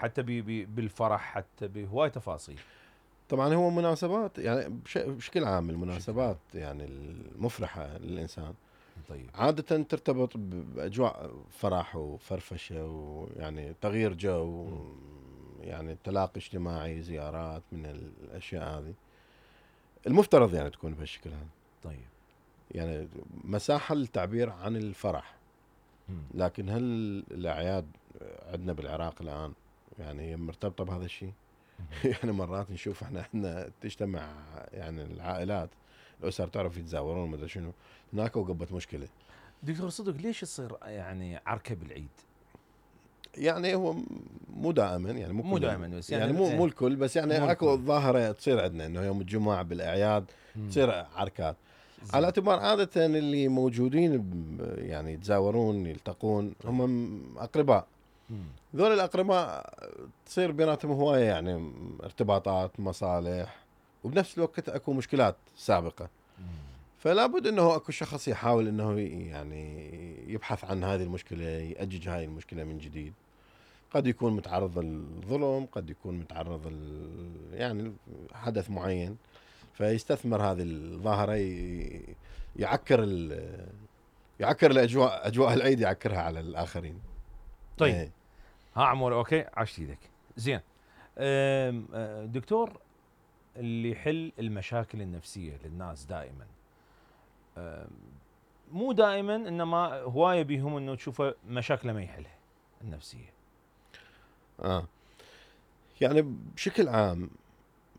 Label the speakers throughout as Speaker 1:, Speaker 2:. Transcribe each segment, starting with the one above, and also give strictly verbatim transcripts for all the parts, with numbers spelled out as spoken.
Speaker 1: حتى بي بي بالفرح، حتى بهواي تفاصيل.
Speaker 2: طبعا هو مناسبات يعني بش- بشكل عام المناسبات يعني المفرحة للإنسان
Speaker 1: طيب.
Speaker 2: عادة ترتبط بأجواء فرح وفرفشة ويعني تغيير جو، يعني تلاقي اجتماعي، زيارات، من الأشياء هذه المفترض يعني تكون بهالشكل هذا.
Speaker 1: طيب.
Speaker 2: يعني مساحة للتعبير عن الفرح.
Speaker 1: مم.
Speaker 2: لكن هل الأعياد عندنا بالعراق الآن يعني هي مرتبطة بهذا الشيء؟ يعني مرات نشوف احنا احنا تجتمع يعني العائلات، الأسر تعرف يتزاورون مدري شنو، هناك وقبت مشكلة.
Speaker 1: دكتور صدق ليش يصير يعني عركة بالعيد؟
Speaker 2: يعني هو مو دائما، يعني مو,
Speaker 1: مو
Speaker 2: كل
Speaker 1: دائما بس يعني,
Speaker 2: يعني مو
Speaker 1: ايه
Speaker 2: مو الكل، بس يعني
Speaker 1: مو
Speaker 2: اكو
Speaker 1: الكل.
Speaker 2: ظاهرة تصير عندنا انه يوم الجمعة بالاعياد
Speaker 1: مم.
Speaker 2: تصير عركات.
Speaker 1: زين.
Speaker 2: على اعتبار عادة اللي موجودين ب- يعني يتزاورون يلتقون
Speaker 1: طيب.
Speaker 2: هم اقرباء.
Speaker 1: مم.
Speaker 2: ذول الاقرباء تصير بيناتهم هواية يعني ارتباطات، مصالح، وبنفس الوقت اكو مشكلات سابقة.
Speaker 1: مم.
Speaker 2: فلا بد انه اكو شخص يحاول انه يعني يبحث عن هذه المشكلة، يأجج هذه المشكلة من جديد. قد يكون متعرض للظلم، قد يكون متعرض يعني حدث معين، فيستثمر هذه الظاهرة يعكر يعكر الاجواء، اجواء العيد يعكرها على الاخرين.
Speaker 1: طيب.
Speaker 2: ايه.
Speaker 1: ها عمور، اوكي، عشت ايدك. زين. أم، أه، دكتور، اللي يحل المشاكل النفسية للناس دائما، أم، مو دائما، انما هواية بيهم انه تشوفه مشاكله ما يحلها النفسية.
Speaker 2: اه يعني بشكل عام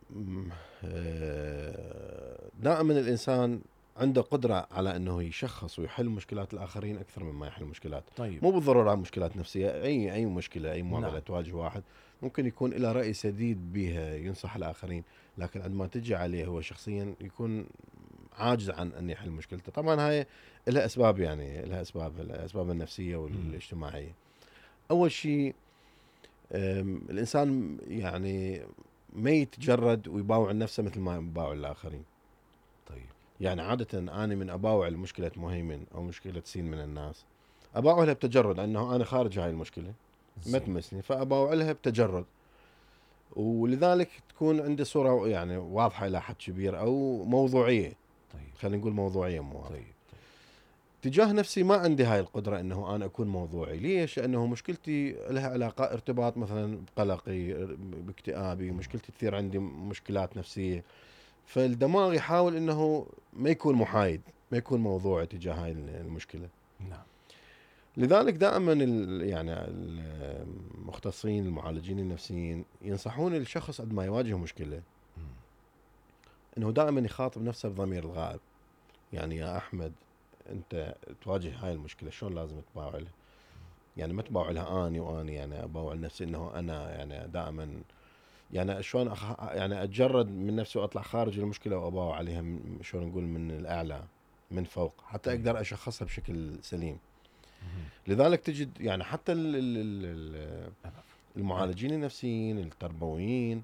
Speaker 2: م- آه، دائما الانسان عنده قدرة على انه يشخص ويحل مشكلات الاخرين اكثر مما يحل مشكلات.
Speaker 1: طيب.
Speaker 2: مو بالضرورة مشكلات نفسية، اي اي مشكلة، اي معضلة
Speaker 1: نعم.
Speaker 2: تواجه واحد ممكن يكون له رأي سديد بها ينصح الاخرين، لكن عندما تجي عليه هو شخصيا يكون عاجز عن ان يحل مشكلته. طبعا هاي لها اسباب، يعني لها اسباب، الاسباب النفسية والاجتماعية. اول شيء الانسان يعني ما يتجرد ويباوع نفسه مثل ما يباوع الاخرين.
Speaker 1: طيب.
Speaker 2: يعني عادة انا من اباوع مشكلة مهيمن او مشكلة سين من الناس، اباوع لها بتجرد انه انا خارج هاي المشكلة ما
Speaker 1: زين.
Speaker 2: تمسني، فاباوع لها بتجرد، ولذلك تكون عندي صورة يعني واضحة الى حد كبير او موضوعية.
Speaker 1: طيب.
Speaker 2: خلينا نقول موضوعية مو واضحة.
Speaker 1: طيب. طيب.
Speaker 2: تجاه نفسي ما عندي هاي القدرة انه انا اكون موضوعي. ليش؟ لانه مشكلتي لها علاقة ارتباط مثلا بقلقي، باكتئابي، مشكلتي تثير عندي مشكلات نفسية. فالدماغ يحاول انه ما يكون محايد، ما يكون موضوعي تجاه هاي المشكلة.
Speaker 1: نعم.
Speaker 2: لذلك دائما ال- يعني المختصين المعالجين النفسيين ينصحون الشخص عندما يواجه مشكلة
Speaker 1: مم.
Speaker 2: انه دائما يخاطب نفسه بضمير الغائب. يعني يا احمد، انت تواجه هاي المشكلة شلون لازم تباوع لها؟ يعني ما تباوع لها اني واني يعني اباوع لنفسي انه انا يعني دائما يعني شلون أخ... يعني اتجرد من نفسي واطلع خارج المشكله واباوع عليها من... شلون نقول من الاعلى، من فوق، حتى
Speaker 1: طيب.
Speaker 2: اقدر اشخصها بشكل سليم.
Speaker 1: مم.
Speaker 2: لذلك تجد يعني حتى ال... ال... ال-
Speaker 1: العفو.
Speaker 2: المعالجين النفسيين التربويين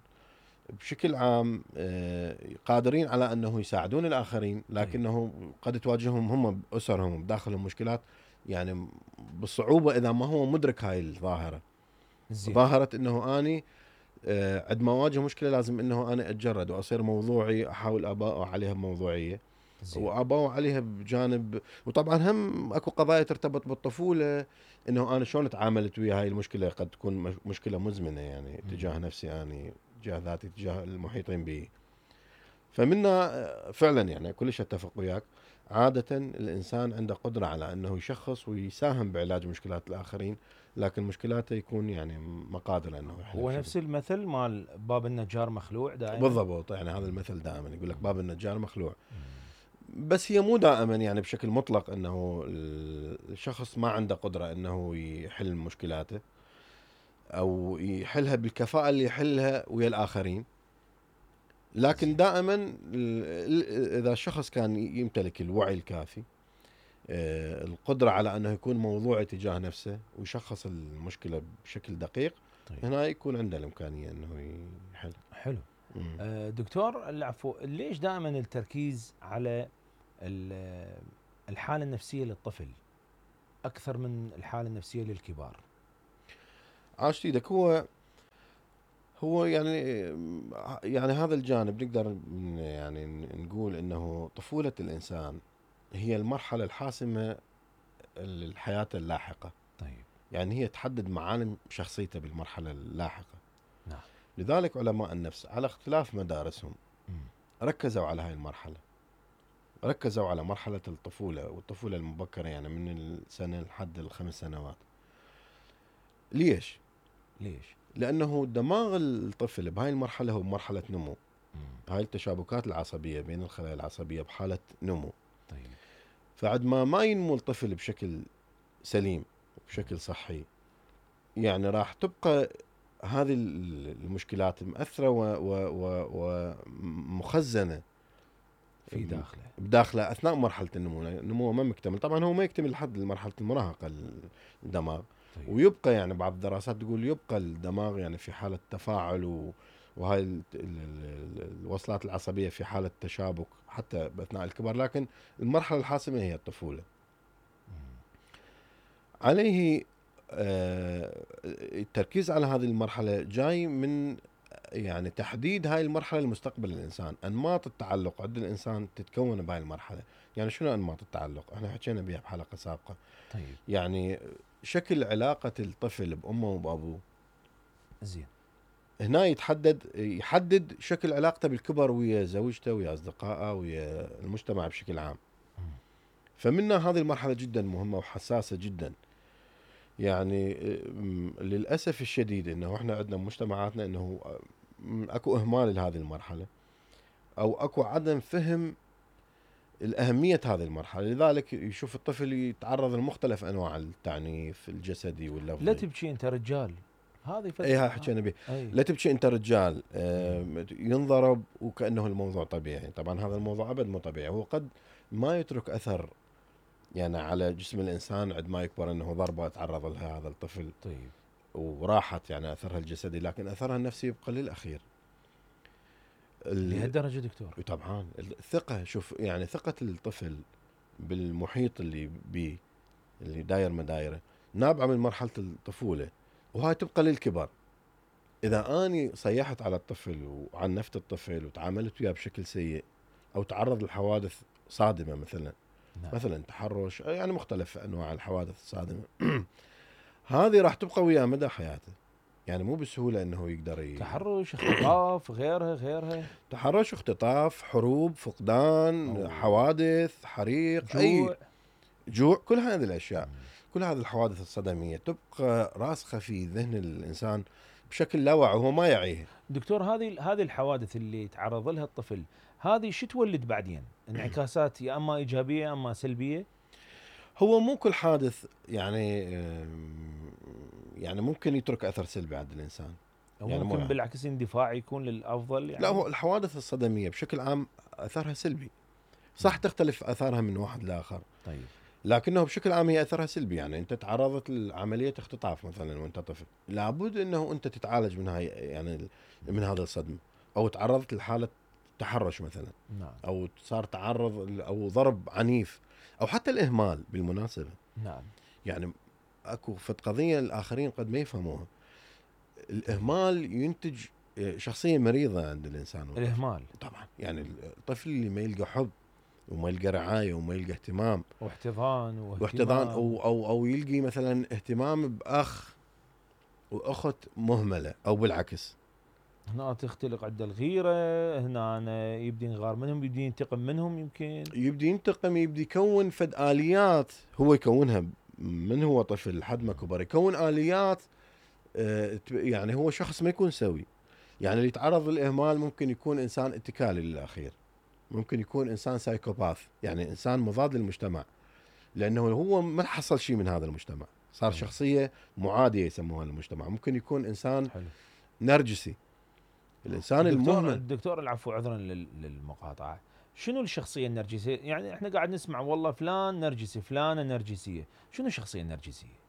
Speaker 2: بشكل عام آه، قادرين على انه يساعدون الاخرين، لكنه قد تواجههم هم باسرهم بداخلهم مشكلات يعني بالصعوبه اذا ما هو مدرك هاي الظاهره.
Speaker 1: زين.
Speaker 2: ظاهره انه اني آه، عندما اواجه مشكله لازم انه انا اتجرد واصير موضوعي، احاول اباوع عليها بموضوعيه
Speaker 1: زين.
Speaker 2: واباوع عليها بجانب. وطبعا هم اكو قضايا ترتبط بالطفوله، انه انا شلون تعاملت ويا هاي المشكله، قد تكون مش- مشكله مزمنه يعني تجاه نفسي اني، تجاه ذاتي، تجاه المحيطين بي. فمنا آه، فعلا يعني كلش اتفق وياك. عادة الإنسان عنده قدرة على أنه يشخص ويساهم بعلاج مشكلات الآخرين، لكن مشكلاته يكون يعني ما قادر أنه يحلها
Speaker 1: هو
Speaker 2: بشكل.
Speaker 1: نفس المثل مال باب النجار مخلوع دائما.
Speaker 2: بالضبط، يعني هذا المثل دائما يقول لك باب النجار مخلوع. بس هي مو دائما يعني بشكل مطلق انه الشخص ما عنده قدرة انه يحل مشكلاته او يحلها بالكفاءة اللي يحلها ويا الاخرين. لكن دائما ال- ال- اذا الشخص كان يمتلك الوعي الكافي، آه، القدرة على انه يكون موضوعي تجاه نفسه ويشخص المشكلة بشكل دقيق،
Speaker 1: طيب.
Speaker 2: هنا يكون عنده الامكانية انه يحل.
Speaker 1: حلو.
Speaker 2: مم.
Speaker 1: أه دكتور العفو، ليش دائما التركيز على ال- الحالة النفسية للطفل أكثر من الحالة النفسية للكبار؟
Speaker 2: عاشت ايدك. هو هو يعني يعني هذا الجانب نقدر يعني نقول انه طفولة الانسان هي المرحلة الحاسمة للحياة اللاحقة.
Speaker 1: طيب.
Speaker 2: يعني هي تحدد معالم شخصيته بالمرحلة اللاحقة.
Speaker 1: نعم.
Speaker 2: لذلك علماء النفس على اختلاف مدارسهم
Speaker 1: مم.
Speaker 2: ركزوا على هاي المرحلة، ركزوا على مرحلة الطفولة والطفولة المبكرة، يعني من السنة لحد الخمس سنوات. ليش؟
Speaker 1: ليش؟
Speaker 2: لأنه دماغ الطفل بهاي المرحلة هو مرحلة نمو.
Speaker 1: مم.
Speaker 2: هاي التشابكات العصبية بين الخلايا العصبية بحالة نمو.
Speaker 1: طيب.
Speaker 2: فعد ما ما ينمو الطفل بشكل سليم وبشكل صحي، يعني راح تبقى هذه المشكلات مأثرة ومخزنة
Speaker 1: في داخله
Speaker 2: بداخله أثناء مرحلة النمو. النمو ما مكتمل طبعا، هو ما يكتمل لحد مرحلة المراهقة الدماغ.
Speaker 1: طيب.
Speaker 2: ويبقى يعني بعض الدراسات تقول يبقى الدماغ يعني في حالة تفاعل و وهاي ال- ال- ال- الوصلات العصبية في حالة تشابك حتى أثناء الكبر، لكن المرحلة الحاسمة هي الطفولة. عليه آه، التركيز على هذه المرحلة جاي من يعني تحديد هاي المرحلة لمستقبل الإنسان. أنماط التعلق عند الإنسان تتكون بهاي المرحلة. يعني شنو أنماط التعلق؟ احنا حكينا بها بحلقة سابقة.
Speaker 1: طيب.
Speaker 2: يعني شكل علاقة الطفل بأمه وبأبوه
Speaker 1: زين.
Speaker 2: هنا يتحدد يحدد شكل علاقته بالكبر ويا زوجته ويا أصدقائه ويا المجتمع بشكل عام.
Speaker 1: مم.
Speaker 2: فمنا هذه المرحلة جدا مهمة وحساسة جدا. يعني م- للأسف الشديد أنه إحنا عندنا مجتمعاتنا أنه م- أكو إهمال لهذه المرحلة، أو أكو عدم فهم الأهمية هذه المرحلة. لذلك يشوف الطفل يتعرض لمختلف أنواع التعنيف الجسدي واللفظي.
Speaker 1: لا تبكي انت رجال، هذه فترة.
Speaker 2: اي هاي حكينا به.
Speaker 1: أي.
Speaker 2: لا تبكي انت رجال. آه ينضرب وكانه الموضوع طبيعي. طبعا هذا الموضوع ابد مو طبيعي. هو قد ما يترك اثر يعني على جسم الانسان عند ما يكبر، انه ضربه تعرض لها هذا الطفل
Speaker 1: طيب.
Speaker 2: وراحت يعني اثرها الجسدي، لكن اثرها النفسي يبقى للاخير. ال-
Speaker 1: لهالدرجة دكتور؟
Speaker 2: طبعا الثقه، شوف يعني ثقه الطفل بالمحيط اللي بيه اللي داير مدايره نابعه من مرحله الطفوله، وهاي تبقى للكبر. إذا أني صيحت على الطفل وعنفت الطفل وتعاملت وياه بشكل سيء، أو تعرض لحوادث صادمة مثلا،
Speaker 1: نعم.
Speaker 2: مثلا تحرش، يعني مختلف أنواع الحوادث الصادمة هذه راح تبقى وياه مدى حياته. يعني مو بسهولة أنه يقدر ي...
Speaker 1: تحرش، اختطاف، غيرها غيرها.
Speaker 2: تحرش، اختطاف، حروب، فقدان،
Speaker 1: أوه.
Speaker 2: حوادث، حريق،
Speaker 1: جوع.
Speaker 2: أي جوع، كل هذه الأشياء،
Speaker 1: مم.
Speaker 2: كل هذه الحوادث الصدمية تبقى راسخة في ذهن الإنسان بشكل لا واعي وهو ما يعيه.
Speaker 1: دكتور، هذه هذه الحوادث اللي تعرض لها الطفل، هذه شو تولد بعدين؟ انعكاسات يا اما ايجابيه يا اما سلبيه؟
Speaker 2: هو مو كل حادث يعني يعني ممكن يترك اثر سلبي عند الانسان.
Speaker 1: او
Speaker 2: يعني
Speaker 1: ممكن
Speaker 2: مو-
Speaker 1: بالعكس اندفاع يكون للافضل يعني؟
Speaker 2: لا، هو الحوادث الصدميه بشكل عام اثرها سلبي. صح تختلف اثارها من واحد لاخر،
Speaker 1: طيب.
Speaker 2: لكنه بشكل عام هي اثرها سلبي. يعني انت تعرضت لعمليه اختطاف مثلا وانت طفل، لابد انه انت تتعالج من هاي يعني من هذا الصدمه، او تعرضت لحاله تحرش مثلا،
Speaker 1: نعم.
Speaker 2: او صار تعرض او ضرب عنيف، او حتى الاهمال بالمناسبه.
Speaker 1: نعم.
Speaker 2: يعني اكو فد قضيه الاخرين قد ما يفهموها. الاهمال ينتج شخصيه مريضه عند الانسان والطفل.
Speaker 1: الاهمال
Speaker 2: طبعا يعني الطفل اللي ما يلقى حب وما يلقى رعايه وما يلقى اهتمام
Speaker 1: واحتضان واهتمام
Speaker 2: واحتضان، او او او يلقي مثلا اهتمام باخ واخت مهمله، او بالعكس.
Speaker 1: هنا تختلق عند الغيره، هنا أنا يبدي ينغار منهم، يبدي ينتقم منهم، يمكن
Speaker 2: يبدي ينتقم، يبدي يكون فد اليات هو يكونها من هو طفل لحد ما كبر، يكون اليات. آه، يعني هو شخص ما يكون سوي. يعني اللي يتعرض للاهمال ممكن يكون انسان اتكالي للاخير، ممكن يكون انسان سايكوباث، يعني انسان مضاد للمجتمع، لانه هو ما حصل شيء من هذا المجتمع، صار
Speaker 1: طيب.
Speaker 2: شخصيه معاديه يسموها للمجتمع. ممكن يكون انسان
Speaker 1: حلو.
Speaker 2: نرجسي، الانسان
Speaker 1: الدكتور
Speaker 2: المهمل.
Speaker 1: الدكتور العفو، عذرا لل- للمقاطعه، شنو الشخصيه النرجسيه؟ يعني احنا قاعد نسمع والله فلان نرجسي، فلانه نرجسيه، شنو الشخصيه النرجسيه؟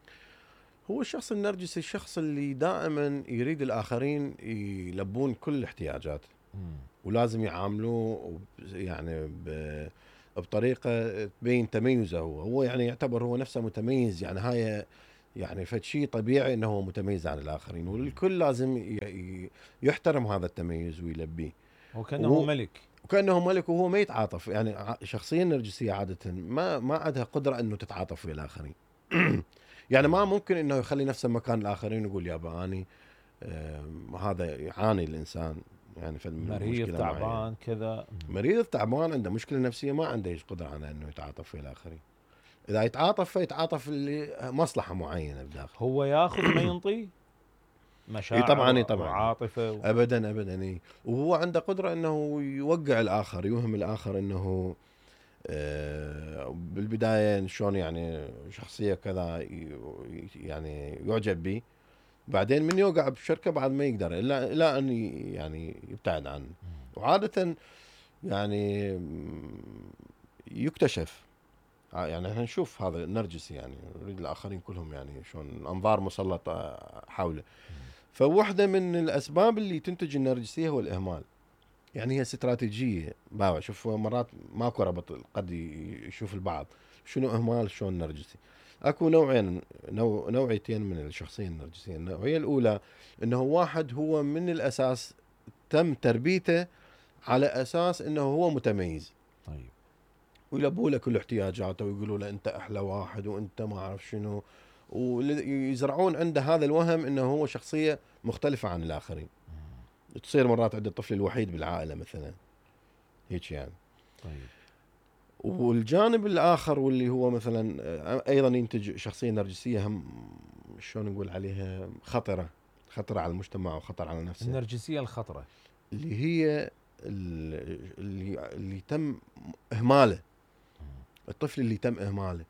Speaker 2: هو الشخص النرجسي الشخص اللي دائما يريد الاخرين يلبون كل احتياجاته،
Speaker 1: مم.
Speaker 2: ولازم يعاملوه يعني ب- بطريقه تبين تميزه. هو هو يعني يعتبر هو نفسه متميز. يعني هاي يعني فد شيء طبيعي انه هو متميز عن الاخرين، والكل لازم ي- ي- يحترم هذا التميز ويلبيه.
Speaker 1: وكانه
Speaker 2: وهو
Speaker 1: ملك.
Speaker 2: وكانه ملك وهو ما يتعاطف. يعني ع- الشخصيه النرجسيه عاده ما ما عندها قدره انه تتعاطف ويا الاخرين. يعني ما ممكن انه يخلي نفسه مكان الاخرين ويقول يابا اني آه هذا يعاني الانسان يعني في
Speaker 1: مريض
Speaker 2: مشكله معينه،
Speaker 1: تعبان كذا.
Speaker 2: مريض تعبان عنده مشكله نفسيه ما عنده ايش قدره على انه يتعاطف ويا الاخرين. اذا يتعاطف فيتعاطف لمصلحه معينه بداخل.
Speaker 1: هو ياخذ ما ينطي
Speaker 2: اي
Speaker 1: مشاعر
Speaker 2: طبعا اي طبعا
Speaker 1: وعاطفه و...
Speaker 2: ابدا ابدا اي. وهو عنده قدره انه يوقع الاخر، يوهم الاخر انه آه، بالبدايه شلون يعني شخصيه كذا ي- يعني يعجب به، بعدين من يوقع بشركه بعد ما يقدر الا الا ان ي- يعني يبتعد عنه. وعاده يعني يكتشف. يعني احنا نشوف هذا النرجسي يعني يريد الاخرين كلهم يعني شلون الانظار مسلطه حوله. فواحده من الاسباب اللي تنتج النرجسيه هو الاهمال. يعني هي استراتيجيه باوع. شوف مرات ماكو ربط قد يشوف البعض شنو اهمال شلون نرجسي. اكو نوعين نوع نوعيتين من الشخصيه النرجسيه. النوعيه الاولى انه واحد هو من الاساس تم تربيته على اساس انه هو متميز.
Speaker 1: طيب.
Speaker 2: ويلبوا له كل احتياجاته ويقولوا له انت احلى واحد وانت ما اعرف شنو، ويزرعون عنده هذا الوهم انه هو شخصيه مختلفه عن الاخرين. تصير مرات عند الطفل الوحيد بالعائله مثلا هيك يعني.
Speaker 1: طيب.
Speaker 2: والجانب الاخر واللي هو مثلا ايضا ينتج شخصيه نرجسيه هم شلون نقول عليها خطره، خطره على المجتمع وخطر على نفسه.
Speaker 1: النرجسيه الخطره
Speaker 2: اللي هي اللي اللي تم اهماله، الطفل اللي تم اهماله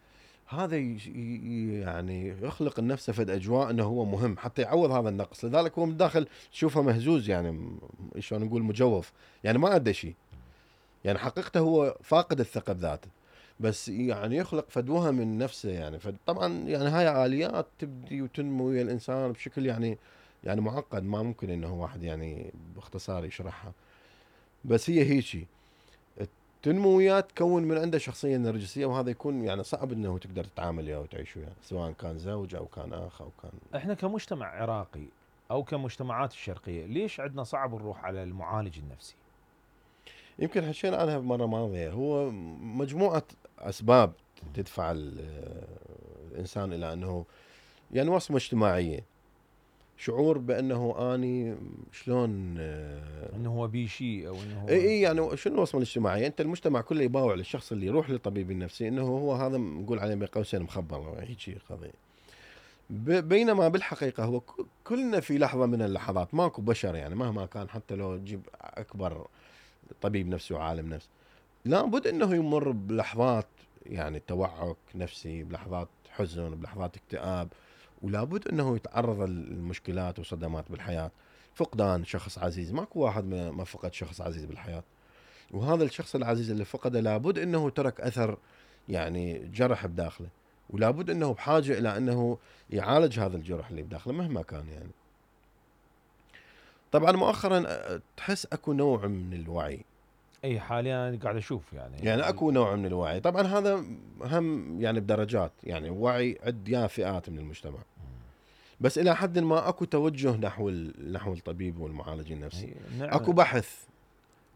Speaker 2: هذا يعني يخلق لنفسه فد اجواء انه هو مهم حتى يعوض هذا النقص. لذلك هو من الداخل تشوفه مهزوز يعني شلون نقول مجوف، يعني ما عنده شيء، يعني حقيقته هو فاقد الثقه بذاته، بس يعني يخلق فد وهم من نفسه. يعني فطبعا يعني هاي اليات تبدي وتنمو ويا الانسان بشكل يعني يعني معقد، ما ممكن انه واحد يعني باختصار يشرحها. بس هي هيجي تنمو وياه تكون من عنده شخصيه نرجسيه، وهذا يكون يعني صعب انه تقدر تتعامل وياه وتعيش وياه سواء كان زوج او كان اخ او كان.
Speaker 1: احنا كمجتمع عراقي او كمجتمعات الشرقيه ليش عندنا صعب نروح على المعالج النفسي؟
Speaker 2: يمكن حكينا عنها بمره ماضيه. هو مجموعه اسباب تدفع الانسان الى انه يعني وصمه اجتماعيه، شعور بانه اني شلون
Speaker 1: انه هو بي شيء او انه هو
Speaker 2: اي اي يعني شنو الوصمه الاجتماعيه؟ انت المجتمع كله يباوع للشخص اللي يروح للطبيب النفسي انه هو هذا نقول عليه بين قوسين مخبر هيك شيء قضيه. بينما بالحقيقه هو كلنا في لحظه من اللحظات ماكو بشر يعني مهما كان حتى لو تجيب اكبر طبيب نفسي وعالم نفس لابد انه يمر بلحظات يعني توعك نفسي، بلحظات حزن، بلحظات اكتئاب، ولابد انه يتعرض للمشكلات وصدمات بالحياه. فقدان شخص عزيز، ماكو واحد ما فقد شخص عزيز بالحياه، وهذا الشخص العزيز اللي فقده لابد انه ترك اثر يعني جرح بداخله، ولابد انه بحاجه الى انه يعالج هذا الجرح اللي بداخله مهما كان يعني. طبعا مؤخرا تحس اكو نوع من الوعي.
Speaker 1: اي حاليا أنا قاعد اشوف يعني
Speaker 2: يعني اكو نوع من الوعي، طبعا هذا هم يعني بدرجات، يعني وعي عند يا فئات من المجتمع، بس الى حد ما اكو توجه نحو نحو الطبيب والمعالج النفسي.
Speaker 1: نعم.
Speaker 2: اكو بحث.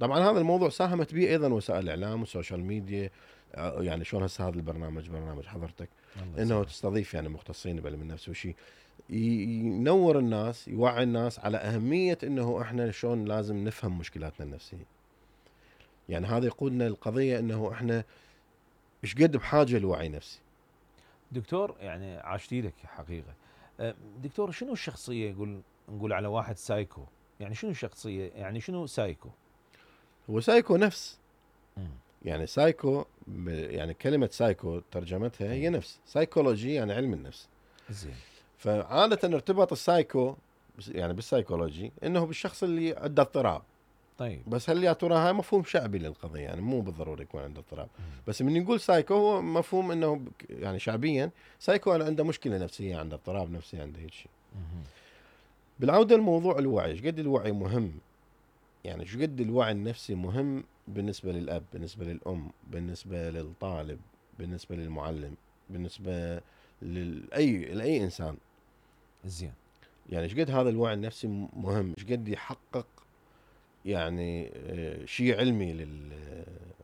Speaker 2: طبعا هذا الموضوع ساهمت به ايضا وسائل الاعلام والسوشيال ميديا. يعني شلون هسه هذا البرنامج برنامج حضرتك انه تستضيف يعني مختصين بعلم النفس وشي ينور الناس، يوعي الناس على اهميه انه احنا شلون لازم نفهم مشكلاتنا النفسيه. يعني هذا يقودنا للقضيه انه احنا ايش قد بحاجه لوعي نفسي.
Speaker 1: دكتور يعني عاشت لك حقيقه. دكتور شنو الشخصيه يقول نقول على واحد سايكو؟ يعني شنو الشخصيه؟ يعني شنو سايكو؟
Speaker 2: هو سايكو نفس.
Speaker 1: مم.
Speaker 2: يعني سايكو يعني كلمه سايكو ترجمتها هي نفس، سايكولوجي يعني علم النفس.
Speaker 1: زين.
Speaker 2: فعاده ارتباط السايكو يعني بالسايكولوجي انه بالشخص اللي عنده اضطراب.
Speaker 1: طيب.
Speaker 2: بس هل يا ترى هاي مفهوم شعبي للقضيه، يعني مو بالضروري يكون عنده اضطراب. بس من نقول سايكو هو مفهوم انه يعني شعبيا سايكو أنا عنده مشكله نفسيه، عنده اضطراب نفسي، عنده هيك شيء. بالعوده لموضوع الوعي، ايش قد الوعي مهم؟ يعني ايش قد الوعي النفسي مهم بالنسبه للاب، بالنسبه للام، بالنسبه للطالب، بالنسبه للمعلم، بالنسبه لاي لاي انسان.
Speaker 1: زين.
Speaker 2: يعني ايش قد هذا الوعي النفسي مهم، ايش قد يحقق يعني شيء علمي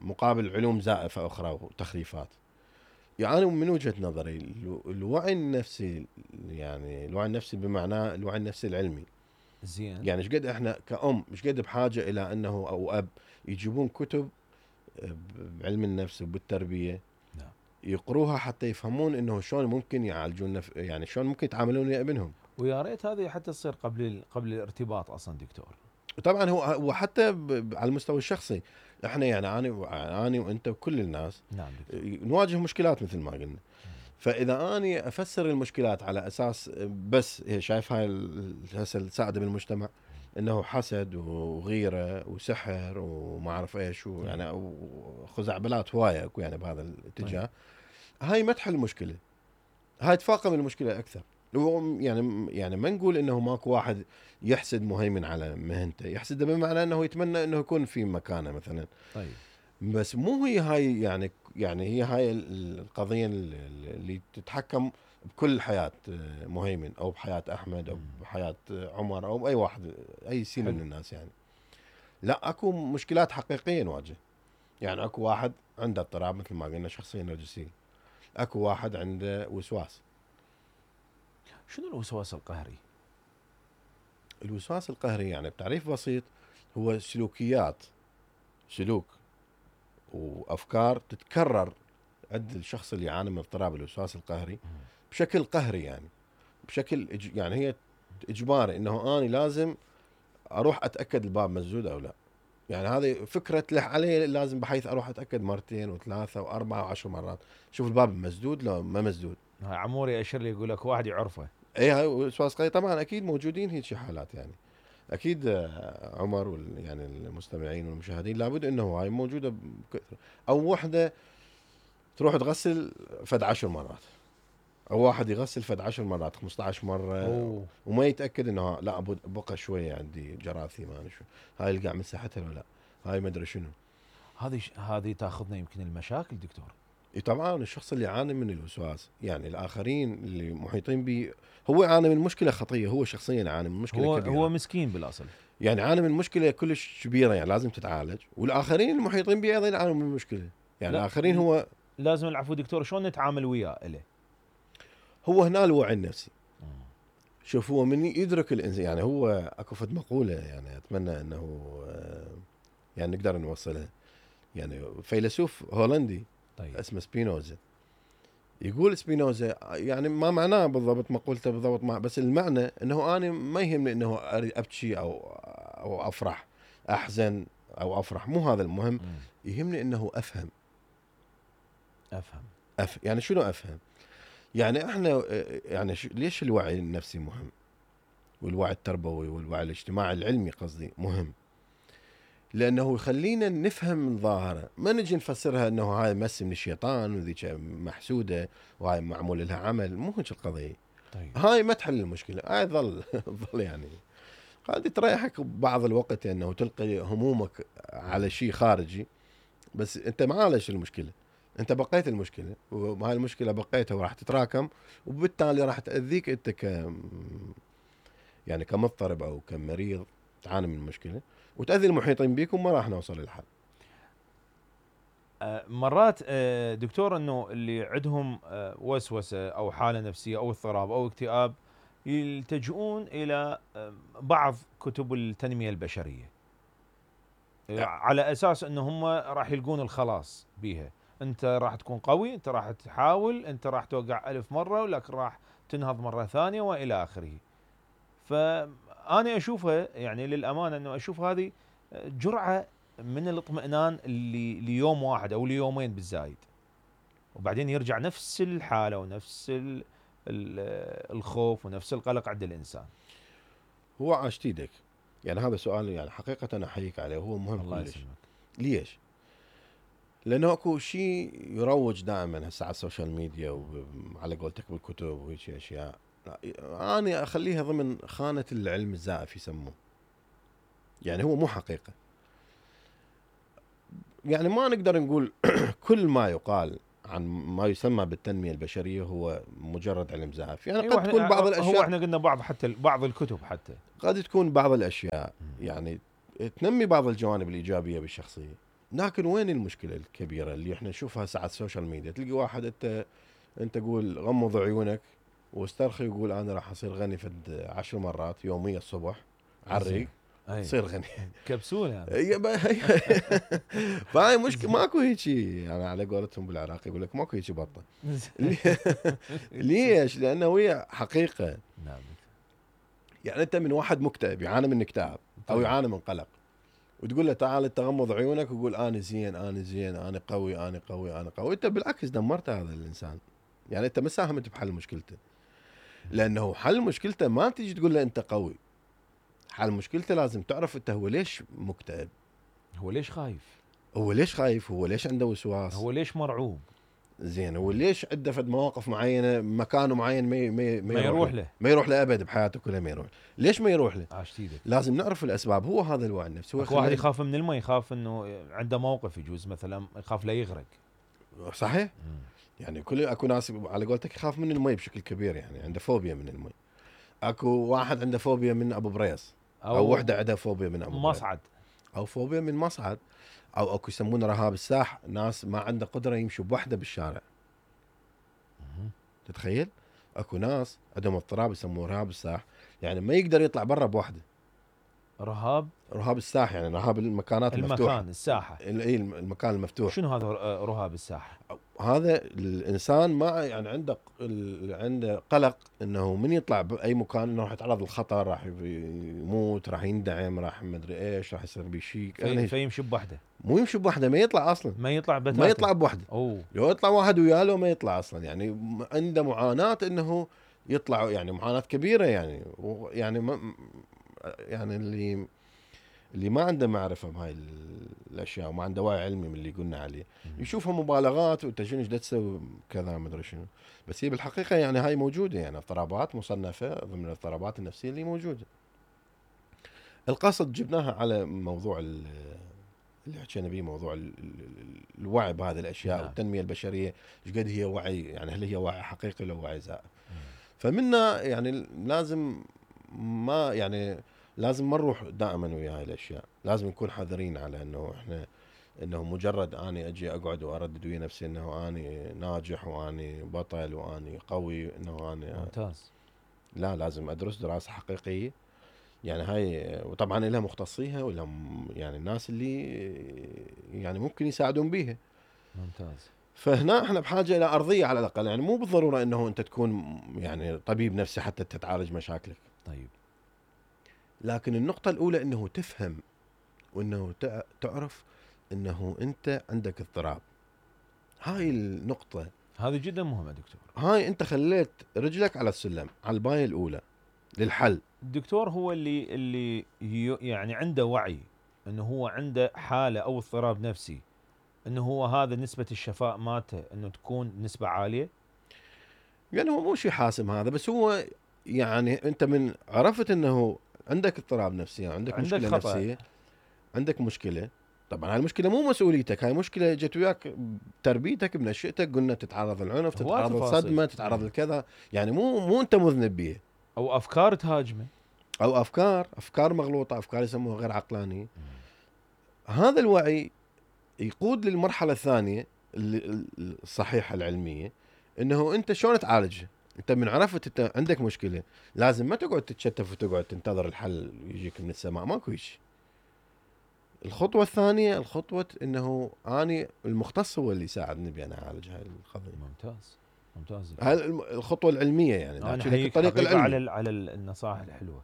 Speaker 2: للمقابل علوم زائفه اخرى وتخريفات. يعني أنا من وجهه نظري الوعي النفسي، يعني الوعي النفسي بمعناه الوعي النفسي العلمي.
Speaker 1: زين.
Speaker 2: يعني ايش قد احنا كأم ايش قد بحاجه الى انه او اب يجيبون كتب بعلم النفس وبالتربيه،
Speaker 1: نعم،
Speaker 2: يقروها حتى يفهمون انه شلون ممكن يعالجون نف... يعني شلون ممكن يتعاملون ويا ابنهم.
Speaker 1: ويا ريت هذه حتى تصير قبل قبل الارتباط اصلا دكتور.
Speaker 2: طبعا هو وحتى ب... على المستوى الشخصي، احنا يعني انا انا وانت وكل الناس
Speaker 1: نعم دكتور.
Speaker 2: نواجه مشكلات مثل ما قلنا. فاذا اني افسر المشكلات على اساس بس شايف هاي هسه السائده بالمجتمع انه حسد وغيره وسحر وما اعرف ايش ويعني وخزعبلات هوايه اكو يعني بهذا الاتجاه، هاي ما تحل المشكله، هاي تفاقم المشكله اكثر. يعني يعني ما نقول انه ماكو واحد يحسد مهيمن على مهنته، يحسده بمعنى انه يتمنى انه يكون في مكانه مثلا.
Speaker 1: طيب.
Speaker 2: بس مو هي هاي يعني يعني هي هاي القضيه اللي تتحكم بكل حياه مهيمن او بحياه احمد او بحياه عمر او باي واحد اي سين من الناس. يعني لا، اكو مشكلات حقيقيه نواجه. يعني اكو واحد عنده اضطراب مثل ما قلنا شخصيه نرجسيه، اكو واحد عنده وسواس.
Speaker 1: شنو الوسواس القهري؟
Speaker 2: الوسواس القهري يعني بتعريف بسيط هو سلوكيات، سلوك وافكار تتكرر عند الشخص اللي يعاني من اضطراب الوسواس القهري بشكل قهري، يعني بشكل إج... يعني هي اجباري انه اني لازم اروح اتاكد الباب مسدود او لا. يعني هذه فكره تلح علي، لازم بحيث اروح اتاكد مرتين وثلاثه واربعه وعشر مرات شوف الباب مسدود لو ما مسدود.
Speaker 1: هاي عموري اشر لي يقول لك واحد يعرفه.
Speaker 2: اي هاي وسواس قهري طبعا اكيد موجودين هيك حالات. يعني اكيد عمر وال يعني المستمعين والمشاهدين لابد انه هاي موجوده بكثره. او وحده تروح تغسل فد عشر مرات، او واحد يغسل فد عشر مرات خمسة عشر مره.
Speaker 1: أوه.
Speaker 2: وما يتاكد انه لا بقى شويه عندي جراثيم، ما شو هاي القاع مسحتها ولا لا، هاي ما ادري شنو.
Speaker 1: هذه هذه تاخذنا يمكن المشاكل دكتور.
Speaker 2: اي طبعا الشخص اللي يعاني من الوسواس، يعني الاخرين اللي محيطين به هو يعاني من مشكله خطيه، هو شخصيا يعاني من مشكله
Speaker 1: هو
Speaker 2: كبيره.
Speaker 1: هو مسكين بالاصل،
Speaker 2: يعني يعاني من مشكله كلش كبيره يعني لازم تتعالج، والاخرين المحيطين به ايضا يعانون من المشكله. يعني الاخرين هو
Speaker 1: لازم العفو دكتور، شلون نتعامل وياه له؟
Speaker 2: هو هنا الوعي النفسي. شوف هو من يدرك الانسان، يعني هو اكو فد مقوله يعني اتمنى انه يعني نقدر نوصلها. يعني فيلسوف هولندي
Speaker 1: طيب.
Speaker 2: اسمه سبينوزا، يقول سبينوزا يعني ما معناه بالضبط مقولته بالضبط، مع بس المعنى انه انا ما يهمني انه ابكي او او افرح، احزن او افرح، مو هذا المهم. يهمني انه افهم.
Speaker 1: افهم
Speaker 2: أف... يعني شنو افهم؟ يعني احنا يعني ليش الوعي النفسي مهم، والوعي التربوي والوعي الاجتماعي العلمي قصدي مهم؟ لانه يخلينا نفهم الظاهره، ما نجي نفسرها انه هاي مس من الشيطان وذيك محسوده وهاي معمول لها عمل، مو هيك القضيه.
Speaker 1: طيب.
Speaker 2: هاي ما تحل المشكله، هاي ظل ظل يعني هذه تريحك بعض الوقت انه يعني تلقي همومك على شيء خارجي، بس انت ما عالجت المشكله، انت بقيت المشكله، وهاي المشكله بقيتها وراح تتراكم، وبالتالي راح تاذيك انت ك يعني كمضطرب او كمريض تعاني من المشكله، وتاذي المحيطين بيك، وما راح نوصل للحل.
Speaker 1: آه مرات آه دكتور انه اللي عندهم آه وسوسه او حاله نفسيه او اضطراب او اكتئاب يلتجؤون الى آه بعض كتب التنميه البشريه آه على اساس انه هم راح يلقون الخلاص بيها. انت راح تكون قوي، انت راح تحاول، انت راح توقع ألف مره ولكن راح تنهض مره ثانيه والى اخره. فانا اشوفها يعني للامانه انه اشوف هذه جرعه من الاطمئنان اللي ليوم واحد او ليومين بالزايد، وبعدين يرجع نفس الحاله ونفس ال ال الخوف ونفس القلق عند الانسان.
Speaker 2: هو عاشت ايدك، يعني هذا سؤال يعني حقيقه انا احييك عليه، هو مهم
Speaker 1: الله
Speaker 2: كلش.
Speaker 1: يسلمك.
Speaker 2: ليش؟ لانه اكو شيء يروج دائما هسه على السوشيال ميديا وعلى قولتك بالكتب وهيك اشياء، انا اخليها ضمن خانه العلم الزائف يسموه، يعني هو مو حقيقه. يعني ما نقدر نقول كل ما يقال عن ما يسمى بالتنمية البشرية هو مجرد علم زائف. يعني
Speaker 1: أيوة
Speaker 2: قد تكون بعض الأشياء،
Speaker 1: هو احنا قلنا بعض حتى بعض الكتب حتى
Speaker 2: قد تكون بعض الأشياء يعني تنمي بعض الجوانب الإيجابية بالشخصية، لكن وين المشكلة الكبيرة اللي احنا نشوفها ساعة السوشيال ميديا؟ تلقي واحد انت انت قول غمض عيونك واسترخي وقول انا راح اصير غني فد عشر مرات يوميا الصبح عريق تصير غني
Speaker 1: كبسولة
Speaker 2: يعني. فهاي مشكلة، ماكو هيجي يعني على قولتهم بالعراق يقول لك ماكو هيجي بطة. ليش؟ لانه هي حقيقة.
Speaker 1: نعم.
Speaker 2: يعني انت من واحد مكتئب يعاني من اكتئاب او يعاني من قلق، وتقول له تعال تغمض عيونك وقول انا زين انا زين انا قوي انا قوي انا قوي، انت بالعكس دمرت هذا الانسان. يعني انت ما ساهمت بحل مشكلته، لانه حل مشكلته ما تيجي تقول له انت قوي. حل مشكلته لازم تعرف انت هو ليش مكتئب،
Speaker 1: هو ليش خايف،
Speaker 2: هو ليش خايف، هو ليش عنده وسواس،
Speaker 1: هو ليش مرعوب،
Speaker 2: زين هو ليش عنده فد مواقف معينه مكان معين ما ما,
Speaker 1: ما يروح له
Speaker 2: ما يروح له ابد بحياته كلها ما يروح. ليش ما يروح له؟
Speaker 1: عاشتيدك.
Speaker 2: لازم نعرف الاسباب. هو هذا الوعي النفسي.
Speaker 1: هو واحد يخاف من الماء، يخاف انه عنده موقف يجوز مثلا يخاف لا يغرق.
Speaker 2: صحيح. مم. يعني كل اكو ناس على قولتك يخاف من الماء بشكل كبير، يعني عنده فوبيا من الماء. اكو واحد عنده فوبيا من ابو بريس، او, أو وحده عندها فوبيا من ابو
Speaker 1: مصعد
Speaker 2: بريس. او فوبيا من مصعد، او اكو يسمونه رهاب الساح، ناس ما عنده قدره يمشوا بوحده بالشارع. مم. تتخيل؟ اكو ناس عندهم اضطراب يسموه رهاب الساح، يعني ما يقدر يطلع برا بوحده.
Speaker 1: رهاب
Speaker 2: رهاب الساح يعني رهاب المكانات
Speaker 1: المكان
Speaker 2: المفتوحه،
Speaker 1: المكان الساحه.
Speaker 2: اي المكان المفتوح.
Speaker 1: شنو هذا رهاب الساحه؟
Speaker 2: هذا الانسان ما يعني عنده عنده قلق انه من يطلع باي مكان انه راح يتعرض للخطر، راح يموت، راح يندعم، راح ما ادري ايش، راح يصير بشيء.
Speaker 1: في يعني فيمشي بوحده،
Speaker 2: مو يمشي بوحده، ما يطلع اصلا،
Speaker 1: ما يطلع بتاتا.
Speaker 2: ما يطلع بوحده.
Speaker 1: اوه
Speaker 2: لو يطلع واحد وياه له ما يطلع اصلا. يعني عنده معاناه انه يطلع، يعني معاناه كبيره يعني. يعني ما يعني اللي اللي ما عنده معرفه بهاي الاشياء وما عنده وعي علمي من اللي قلنا عليه يشوفها مبالغات وانت شنو ايش تسوي كذا ما ادري شنو، بس هي بالحقيقه يعني هاي موجوده، يعني اضطرابات مصنفه ضمن الاضطرابات النفسيه اللي موجوده. القصد جبناها على موضوع اللي حكينا به، موضوع الوعي بهذه الاشياء. نعم. والتنميه البشريه ايش قد هي وعي، يعني هل هي وعي حقيقي ولا وعي زائف؟ فمنا يعني لازم ما يعني لازم ما نروح دائما ويا هاي الاشياء، لازم نكون حذرين على انه احنا انه مجرد اني اجي اقعد واردد ويا نفسي انه اني ناجح واني بطل واني قوي انه اني
Speaker 1: ممتاز.
Speaker 2: لا، لازم ادرس دراسه حقيقيه. يعني هاي وطبعا لها مختصيها ولا يعني الناس اللي يعني ممكن يساعدون بيها.
Speaker 1: ممتاز.
Speaker 2: فهنا احنا بحاجه الى ارضيه على الاقل، يعني مو بالضروره انه انت تكون يعني طبيب نفسي حتى تتعالج مشاكلك.
Speaker 1: طيب.
Speaker 2: لكن النقطة الأولى أنه تفهم وأنه تعرف أنه أنت عندك اضطراب. هاي النقطة
Speaker 1: هذه جدا مهمة دكتور.
Speaker 2: هاي أنت خليت رجلك على السلم، على الباية الأولى للحل.
Speaker 1: الدكتور هو اللي اللي يعني عنده وعي أنه هو عنده حالة أو اضطراب نفسي، أنه هو هذا نسبة الشفاء ماته أنه تكون نسبة عالية.
Speaker 2: يعني هو مو شيء حاسم هذا، بس هو يعني أنت من عرفت أنه عندك اضطراب نفسي، عندك, عندك مشكلة خطأ. نفسية، عندك مشكلة. طبعا هاي المشكلة مو مسؤوليتك، هاي مشكلة جت وياك بتربيتك بنشأتك، قلنا تتعرض للعنف، تتعرض للصدمة، تتعرض لكذا، يعني مو مو أنت مذنب بيها.
Speaker 1: أو أفكار تهاجمه،
Speaker 2: أو أفكار أفكار مغلوطة، أفكار يسموها غير عقلانية. هذا الوعي يقود للمرحلة الثانية الصحيحة العلمية، إنه أنت شلون تعالجها. أنت من عرفت أنت عندك مشكلة، لازم ما تقعد تتشتف وتقعد تنتظر الحل يجيك من السماء، ماكو شيء. الخطوة الثانية الخطوة إنه أنا المختص هو اللي يساعدني بأن أعالج هاي القضية.
Speaker 1: ممتاز ممتاز.
Speaker 2: هاي الخطوة العلمية يعني.
Speaker 1: أنا أحييك حقيقة على على النصائح الحلوة.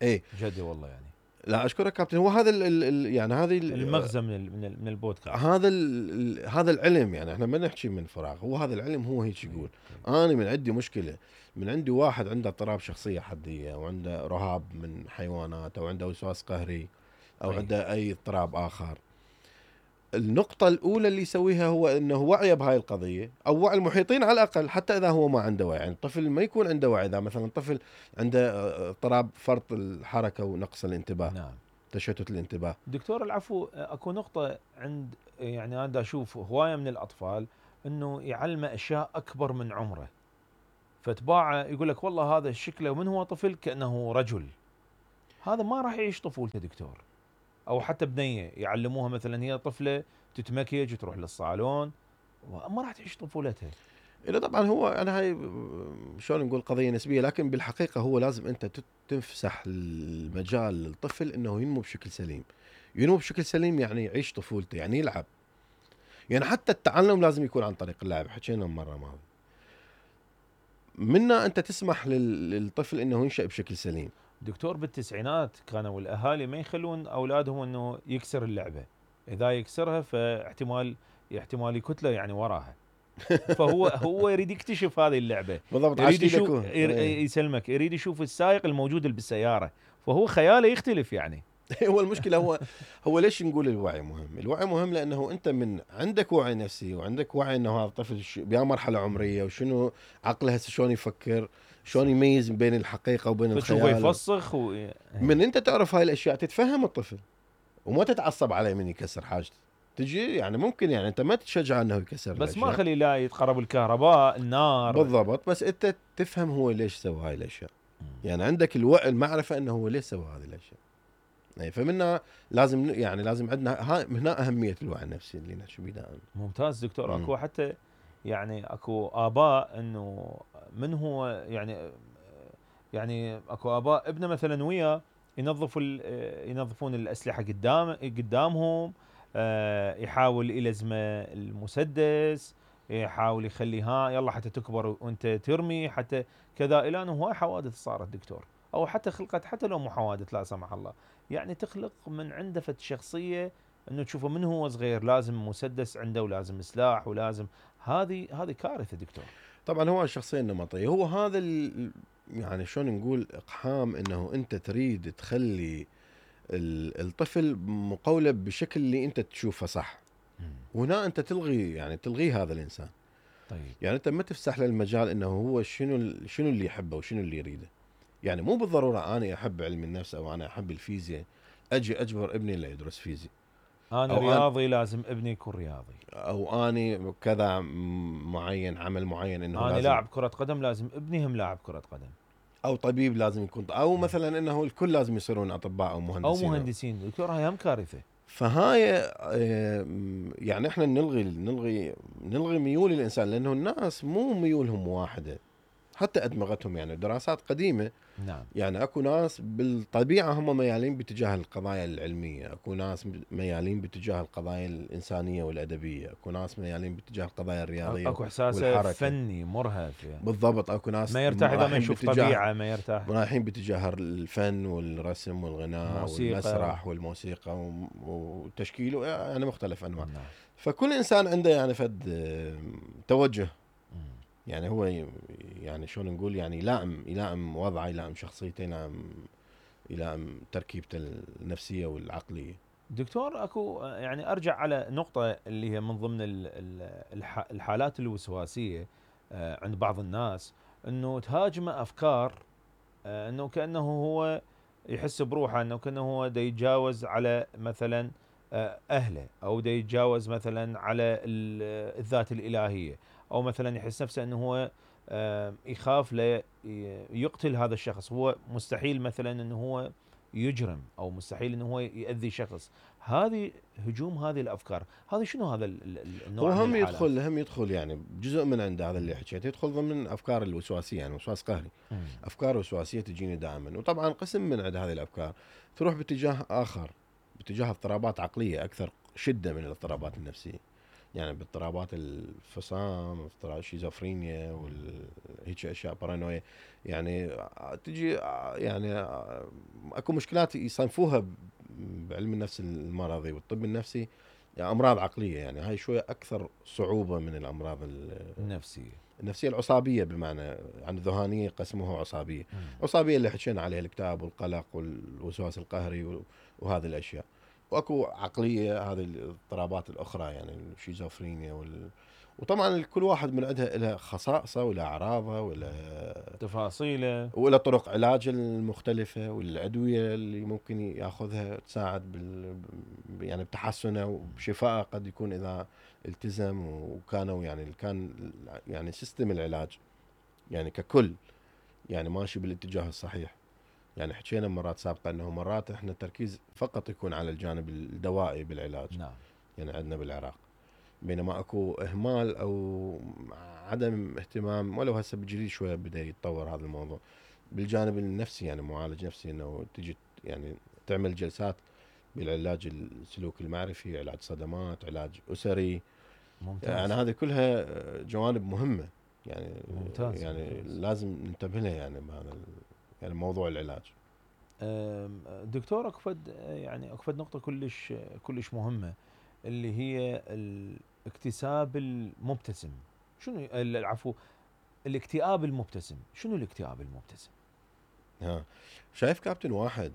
Speaker 2: إيه
Speaker 1: جدي والله يعني.
Speaker 2: لا أشكرك كابتن. هو هذا ال ال يعني هذه
Speaker 1: المغزى من من من البودكاست.
Speaker 2: هذا ال هذا العلم، يعني احنا ما نحكي من فراغ، هو هذا العلم هو هيك يقول. أنا من عندي مشكلة، من عندي واحد عنده اضطراب شخصية حدية، أو عنده رهاب من حيوانات، أو عنده وسواس قهري، أو أي. عنده أي اضطراب آخر. النقطة الأولى اللي يسويها هو إنه وعي بهاي القضية، أو وعي المحيطين على الأقل، حتى إذا هو ما عنده وعي. يعني الطفل ما يكون عنده وعي، إذا مثلا طفل عنده اضطراب فرط الحركة ونقص الانتباه.
Speaker 1: نعم.
Speaker 2: تشتت الانتباه.
Speaker 1: دكتور العفو، اكو نقطة عند يعني أنا أشوف هواية من الأطفال انه يعلمه اشياء اكبر من عمره، فتباعه يقول لك والله هذا شكله من هو طفل كانه رجل، هذا ما راح يعيش طفولته دكتور. او حتى بنيه يعلموها مثلا هي طفله تتمكيج وتروح للصالون، ما راح تعيش طفولتها.
Speaker 2: لا طبعا هو انا هاي شلون نقول قضيه نسبيه، لكن بالحقيقه هو لازم انت تفسح المجال للطفل انه ينمو بشكل سليم. ينمو بشكل سليم يعني يعيش طفولته، يعني يلعب. يعني حتى التعلم لازم يكون عن طريق اللعب، حكينا مره ماضي. منا انت تسمح للطفل انه ينشأ بشكل سليم.
Speaker 1: دكتور بالتسعينات كانوا الاهالي ما يخلون اولادهم انه يكسر اللعبه، اذا يكسرها فاحتمال احتمال يكتله يعني وراها. فهو هو يريد يكتشف هذه اللعبه
Speaker 2: بالضبط،
Speaker 1: يريد يشوف
Speaker 2: يكون
Speaker 1: يسلمك، يريد يشوف السائق الموجود اللي بالسياره، فهو خياله يختلف يعني.
Speaker 2: هو المشكله هو هو ليش نقول الوعي مهم؟ الوعي مهم لانه انت من عندك وعي نفسي وعندك وعي انه هذا الطفل بأي مرحله عمريه وشنو عقله هسه شلون يفكر، شلون يميز بين الحقيقه وبين الخيال.
Speaker 1: فتشوفه يفسخ و...
Speaker 2: من انت تعرف هاي الاشياء تتفهم الطفل وما تتعصب عليه من يكسر حاجته. تجي يعني ممكن يعني انت ما تشجع انه يكسر
Speaker 1: بس
Speaker 2: الأشياء.
Speaker 1: ما خلي لا يتقرب الكهرباء النار.
Speaker 2: بالضبط، بس انت تفهم هو ليش سوى هاي الاشياء. يعني عندك الوعي المعرفه انه هو ليش سوى هذه الاشياء. يعني فمنا لازم يعني لازم عندنا هاي هنا اهميه الوعي النفسي اللي نحكي بيه دائما.
Speaker 1: ممتاز دكتور.
Speaker 2: مم.
Speaker 1: اكو حتى يعني اكو اباء انه من هو يعني يعني اكو اباء ابنه مثلا وياه ينظفوا ينظفون الاسلحه قدام قدامهم، يحاول يلزمه المسدس، يحاول يخليها يلا حتى تكبر وانت ترمي حتى كذا، الى انه هواي حوادث صارت دكتور، او حتى خلقت حتى لو مو حوادث لا سمح الله، يعني تخلق من عنده فد شخصيه انه تشوفه من هو صغير لازم مسدس عنده ولازم سلاح ولازم، هذه هذه كارثه دكتور.
Speaker 2: طبعا هو الشخصيه النمطيه هو هذا يعني شلون نقول اقحام انه انت تريد تخلي الطفل مقولب بشكل اللي انت تشوفه صح. وهنا انت تلغي يعني تلغي هذا الانسان.
Speaker 1: طيب
Speaker 2: يعني انت ما تفسح له المجال انه هو شنو شنو اللي يحبه وشنو اللي يريده. يعني مو بالضروره انا احب علم النفس او انا احب الفيزياء اجي اجبر ابني اللي يدرس فيزياء.
Speaker 1: انا رياضي أنا لازم ابني يكون رياضي،
Speaker 2: او اني كذا معين عمل معين انه
Speaker 1: انا
Speaker 2: لازم
Speaker 1: لاعب كره قدم لازم ابني هم لاعب كره قدم،
Speaker 2: او طبيب لازم يكون، او مثلا انه الكل لازم يصيرون اطباء او مهندسين
Speaker 1: او مهندسين. دكتور هاي هم كارثه.
Speaker 2: فهاي يعني احنا نلغي نلغي نلغي ميول الانسان، لانه الناس مو ميولهم واحده، حتى ادمغتهم. يعني دراسات قديمه
Speaker 1: نعم
Speaker 2: يعني اكو ناس بالطبيعه هم ميالين باتجاه القضايا العلميه، اكو ناس ميالين باتجاه القضايا الانسانيه والادبيه، اكو ناس ميالين باتجاه القضايا الرياضيه
Speaker 1: اكو احساسه فني مرهف يعني.
Speaker 2: بالضبط، اكو ناس
Speaker 1: ما يرتاح اذا ما يشوف طبيعه، ما يرتاح
Speaker 2: رايحين باتجاه الفن والرسم والغناء
Speaker 1: موسيقى.
Speaker 2: والمسرح والموسيقى وتشكيله يعني مختلف انواع.
Speaker 1: نعم.
Speaker 2: فكل انسان عنده يعني فد توجه، يعني هو يعني شلون نقول يعني يلائم يلائم وضعه، يلائم شخصيته، يلائم يلائم تركيبته النفسيه والعقليه.
Speaker 1: دكتور اكو يعني ارجع على نقطه اللي هي من ضمن الحالات الوسواسيه عند بعض الناس، انه تهاجمه افكار انه كانه هو يحس بروحه، انه كانه هو دا يتجاوز على مثلا اهله، او دا يتجاوز مثلا على الذات الالهيه، او مثلا يحس نفسه انه هو يخاف لا يقتل هذا الشخص، هو مستحيل مثلا انه هو يجرم، او مستحيل انه هو يؤذي شخص. هذه هجوم هذه الافكار، هذا شنو هذا النوع
Speaker 2: هو
Speaker 1: من
Speaker 2: هم
Speaker 1: الحالات؟
Speaker 2: يدخل هم يدخل يعني جزء من عند هذا اللي حكيته، يدخل ضمن افكار الوسواسيه، يعني وسواس قهري.
Speaker 1: مم.
Speaker 2: افكار وسواسيه تجيني دائما، وطبعا قسم من عند هذه الافكار تروح باتجاه اخر، باتجاه اضطرابات عقليه اكثر شده من الاضطرابات النفسيه. يعني باضطرابات الفصام، اضطراب الشيزوفرينيا وهيك اشياء، بارانويا، يعني تجي يعني اكو مشكلات يصنفوها بعلم النفس المرضي والطب النفسي يعني امراض عقليه. يعني هاي شويه اكثر صعوبه من الامراض
Speaker 1: النفسيه
Speaker 2: النفسيه العصابيه، بمعنى عن الذهانيه قسموها عصابيه.
Speaker 1: مم.
Speaker 2: عصابيه اللي حكينا عليها الاكتئاب والقلق والوسواس القهري وهذه الاشياء. واكو عقليه هذه الاضطرابات الاخرى يعني الشيزوفرينيا وال... وطبعا كل واحد من عندها لها خصائصه ولا اعراضها ولا
Speaker 1: تفاصيله
Speaker 2: ولا طرق علاج المختلفه والادويه اللي ممكن ياخذها تساعد بال يعني بتحسنه وبشفائه قد يكون اذا التزم وكانوا يعني كان يعني سيستم العلاج يعني ككل يعني ماشي بالاتجاه الصحيح. يعني حكينا مرات سابقه انه مرات احنا التركيز فقط يكون على الجانب الدوائي بالعلاج.
Speaker 1: نعم.
Speaker 2: يعني عندنا بالعراق بينما اكو اهمال او عدم اهتمام ولو هسه بالجديد شويه بدا يتطور هذا الموضوع بالجانب النفسي يعني معالج نفسي انه تجي يعني تعمل جلسات بالعلاج السلوك المعرفي، علاج صدمات، علاج اسري.
Speaker 1: ممتاز.
Speaker 2: يعني هذه كلها جوانب مهمه يعني
Speaker 1: ممتاز.
Speaker 2: يعني
Speaker 1: ممتاز.
Speaker 2: لازم ننتبه لها يعني بهذا يعني موضوع العلاج.
Speaker 1: دكتور اكفد يعني اكفد نقطه كلش كلش مهمه اللي هي الاكتساب المبتسم. شنو العفو الاكتئاب المبتسم؟ شنو الاكتئاب المبتسم؟
Speaker 2: ها شايف كابتن واحد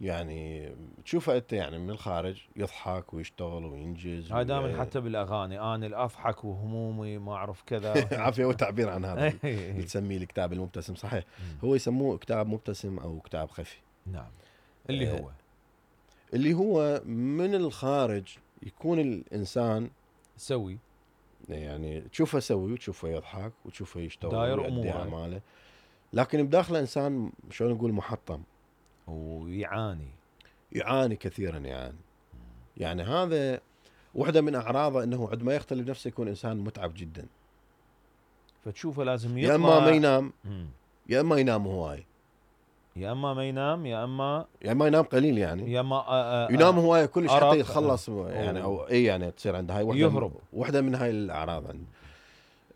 Speaker 2: يعني تشوفه انت يعني من الخارج يضحك ويشتغل وينجز
Speaker 1: هاي دائما حتى بالاغاني انا اضحك وهمومي ما اعرف كذا
Speaker 2: عافيه وتعبير عن هذا اللي تسميه الاكتئاب المبتسم صحيح. هو يسموه اكتئاب مبتسم او اكتئاب خفي.
Speaker 1: نعم. اللي هو
Speaker 2: اللي هو من الخارج يكون الانسان
Speaker 1: سوي
Speaker 2: يعني تشوفه سوي وتشوفه يضحك وتشوفه يشتغل
Speaker 1: داير
Speaker 2: ويؤدي
Speaker 1: اموره
Speaker 2: اعماله لكن بداخله انسان شلون نقول محطم
Speaker 1: ويعاني
Speaker 2: يعاني كثيرا يعني. يعني هذا واحدة من أعراضه أنه عندما يختل بنفسه يكون إنسان متعب جدا.
Speaker 1: فتشوفه لازم يطلع
Speaker 2: يا إما ما ينام
Speaker 1: مم.
Speaker 2: يا إما ينام هواي
Speaker 1: يا إما ما ينام يا إما
Speaker 2: يا إما ينام قليل يعني
Speaker 1: يا إما آآ آآ
Speaker 2: ينام هواي كلش حتى
Speaker 1: أرق
Speaker 2: يتخلص يعني أو إيه يعني تصير عنده هاي واحدة
Speaker 1: يهرب.
Speaker 2: واحدة من هاي الأعراض عنده.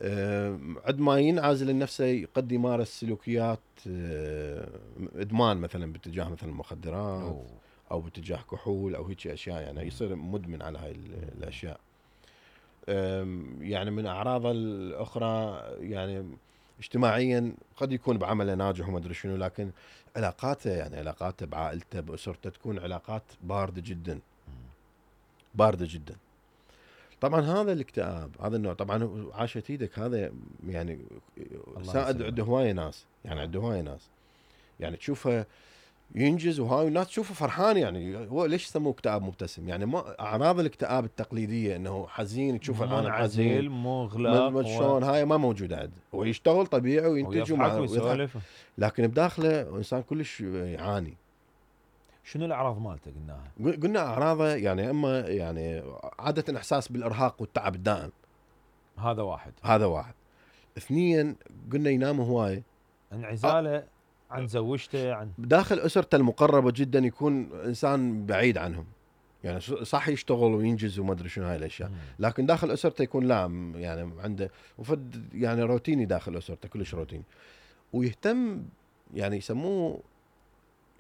Speaker 2: أه عندما ينعزل نفسه قد يمارس سلوكيات أه إدمان مثلا باتجاه مثلا المخدرات أوه. او باتجاه كحول او هيك اشياء يعني يصير مدمن على هاي الاشياء. يعني من اعراضه الاخرى يعني اجتماعيا قد يكون بعمله ناجح وما ادري شنو لكن علاقاته يعني علاقاته بعائلته باسرته تكون علاقات بارده جدا بارده جدا. طبعا هذا الاكتئاب هذا النوع طبعا عاشت ايدك هذا يعني سائد عنده هوايه ناس يعني عنده هوايه ناس يعني تشوفه ينجز وهاي الناس تشوفه فرحان يعني هو ليش يسموه اكتئاب مبتسم يعني ما اعراض الاكتئاب التقليديه انه حزين تشوفه الان حزين
Speaker 1: مغلق
Speaker 2: شلون هاي ما موجوده عنده. هو يشتغل طبيعي وينتج
Speaker 1: ويضحك
Speaker 2: لكن بداخله انسان كلش يعاني.
Speaker 1: شنو الاعراض مالته قلناها؟
Speaker 2: قلنا اعراضه يعني اما يعني عاده احساس بالارهاق والتعب الدائم
Speaker 1: هذا واحد
Speaker 2: هذا واحد. اثنين قلنا ينام هواي
Speaker 1: انعزاله عن زوجته عن
Speaker 2: داخل اسرته المقربه جدا يكون انسان بعيد عنهم يعني صح يشتغل وينجز وما ادري شنو هاي الاشياء لكن داخل اسرته يكون لا يعني عنده وفد يعني روتيني داخل اسرته كلش روتيني ويهتم يعني يسموه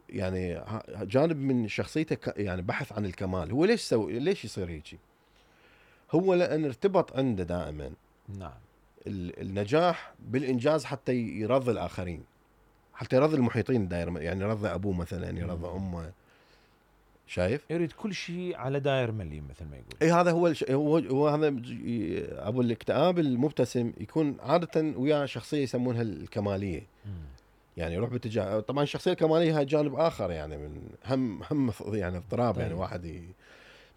Speaker 2: يعني جانب من شخصيته يعني بحث عن الكمال. هو ليش سوي ليش يصير هيك؟ هو لان ارتبط عنده دائما
Speaker 1: نعم
Speaker 2: النجاح بالانجاز حتى يرضي الاخرين حتى يرضي المحيطين الدائره يعني يرضي ابوه مثلا يرضي امه شايف
Speaker 1: يريد كل شيء على داير مليم مثل ما يقول.
Speaker 2: اي هذا هو الش... هو هو هذا ابو الاكتئاب المبتسم يكون عاده وياه شخصيه يسمونها الكماليه. مم. يعني يروح باتجاه طبعا الشخصيه الكماليه هاي جانب اخر يعني من هم هم يعني اضطراب طيب. يعني واحد ي...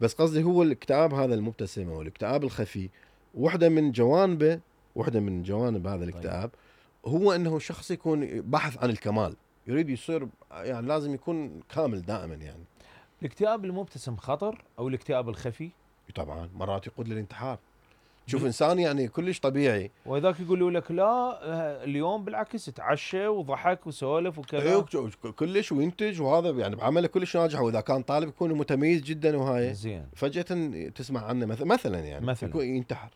Speaker 2: بس قصدي هو الاكتئاب هذا المبتسم او الاكتئاب الخفي واحده من جوانبه واحده من جوانب هذا الاكتئاب طيب. هو انه شخص يكون بحث عن الكمال يريد يصير يعني لازم يكون كامل دائما يعني.
Speaker 1: الاكتئاب المبتسم خطر او الاكتئاب الخفي؟
Speaker 2: طبعا مرات يقود للانتحار. شوف انسان يعني كلش طبيعي
Speaker 1: وذاك يقولوا لك لا اليوم بالعكس تعشى وضحك وسولف وكذا
Speaker 2: ايوه كلش وينتج وهذا يعني بعمله كلش ناجح واذا كان طالب يكون متميز جدا وهاي
Speaker 1: زين
Speaker 2: فجأة تسمع عنه مثلا مثلا يعني
Speaker 1: مثلا
Speaker 2: يكون ينتحر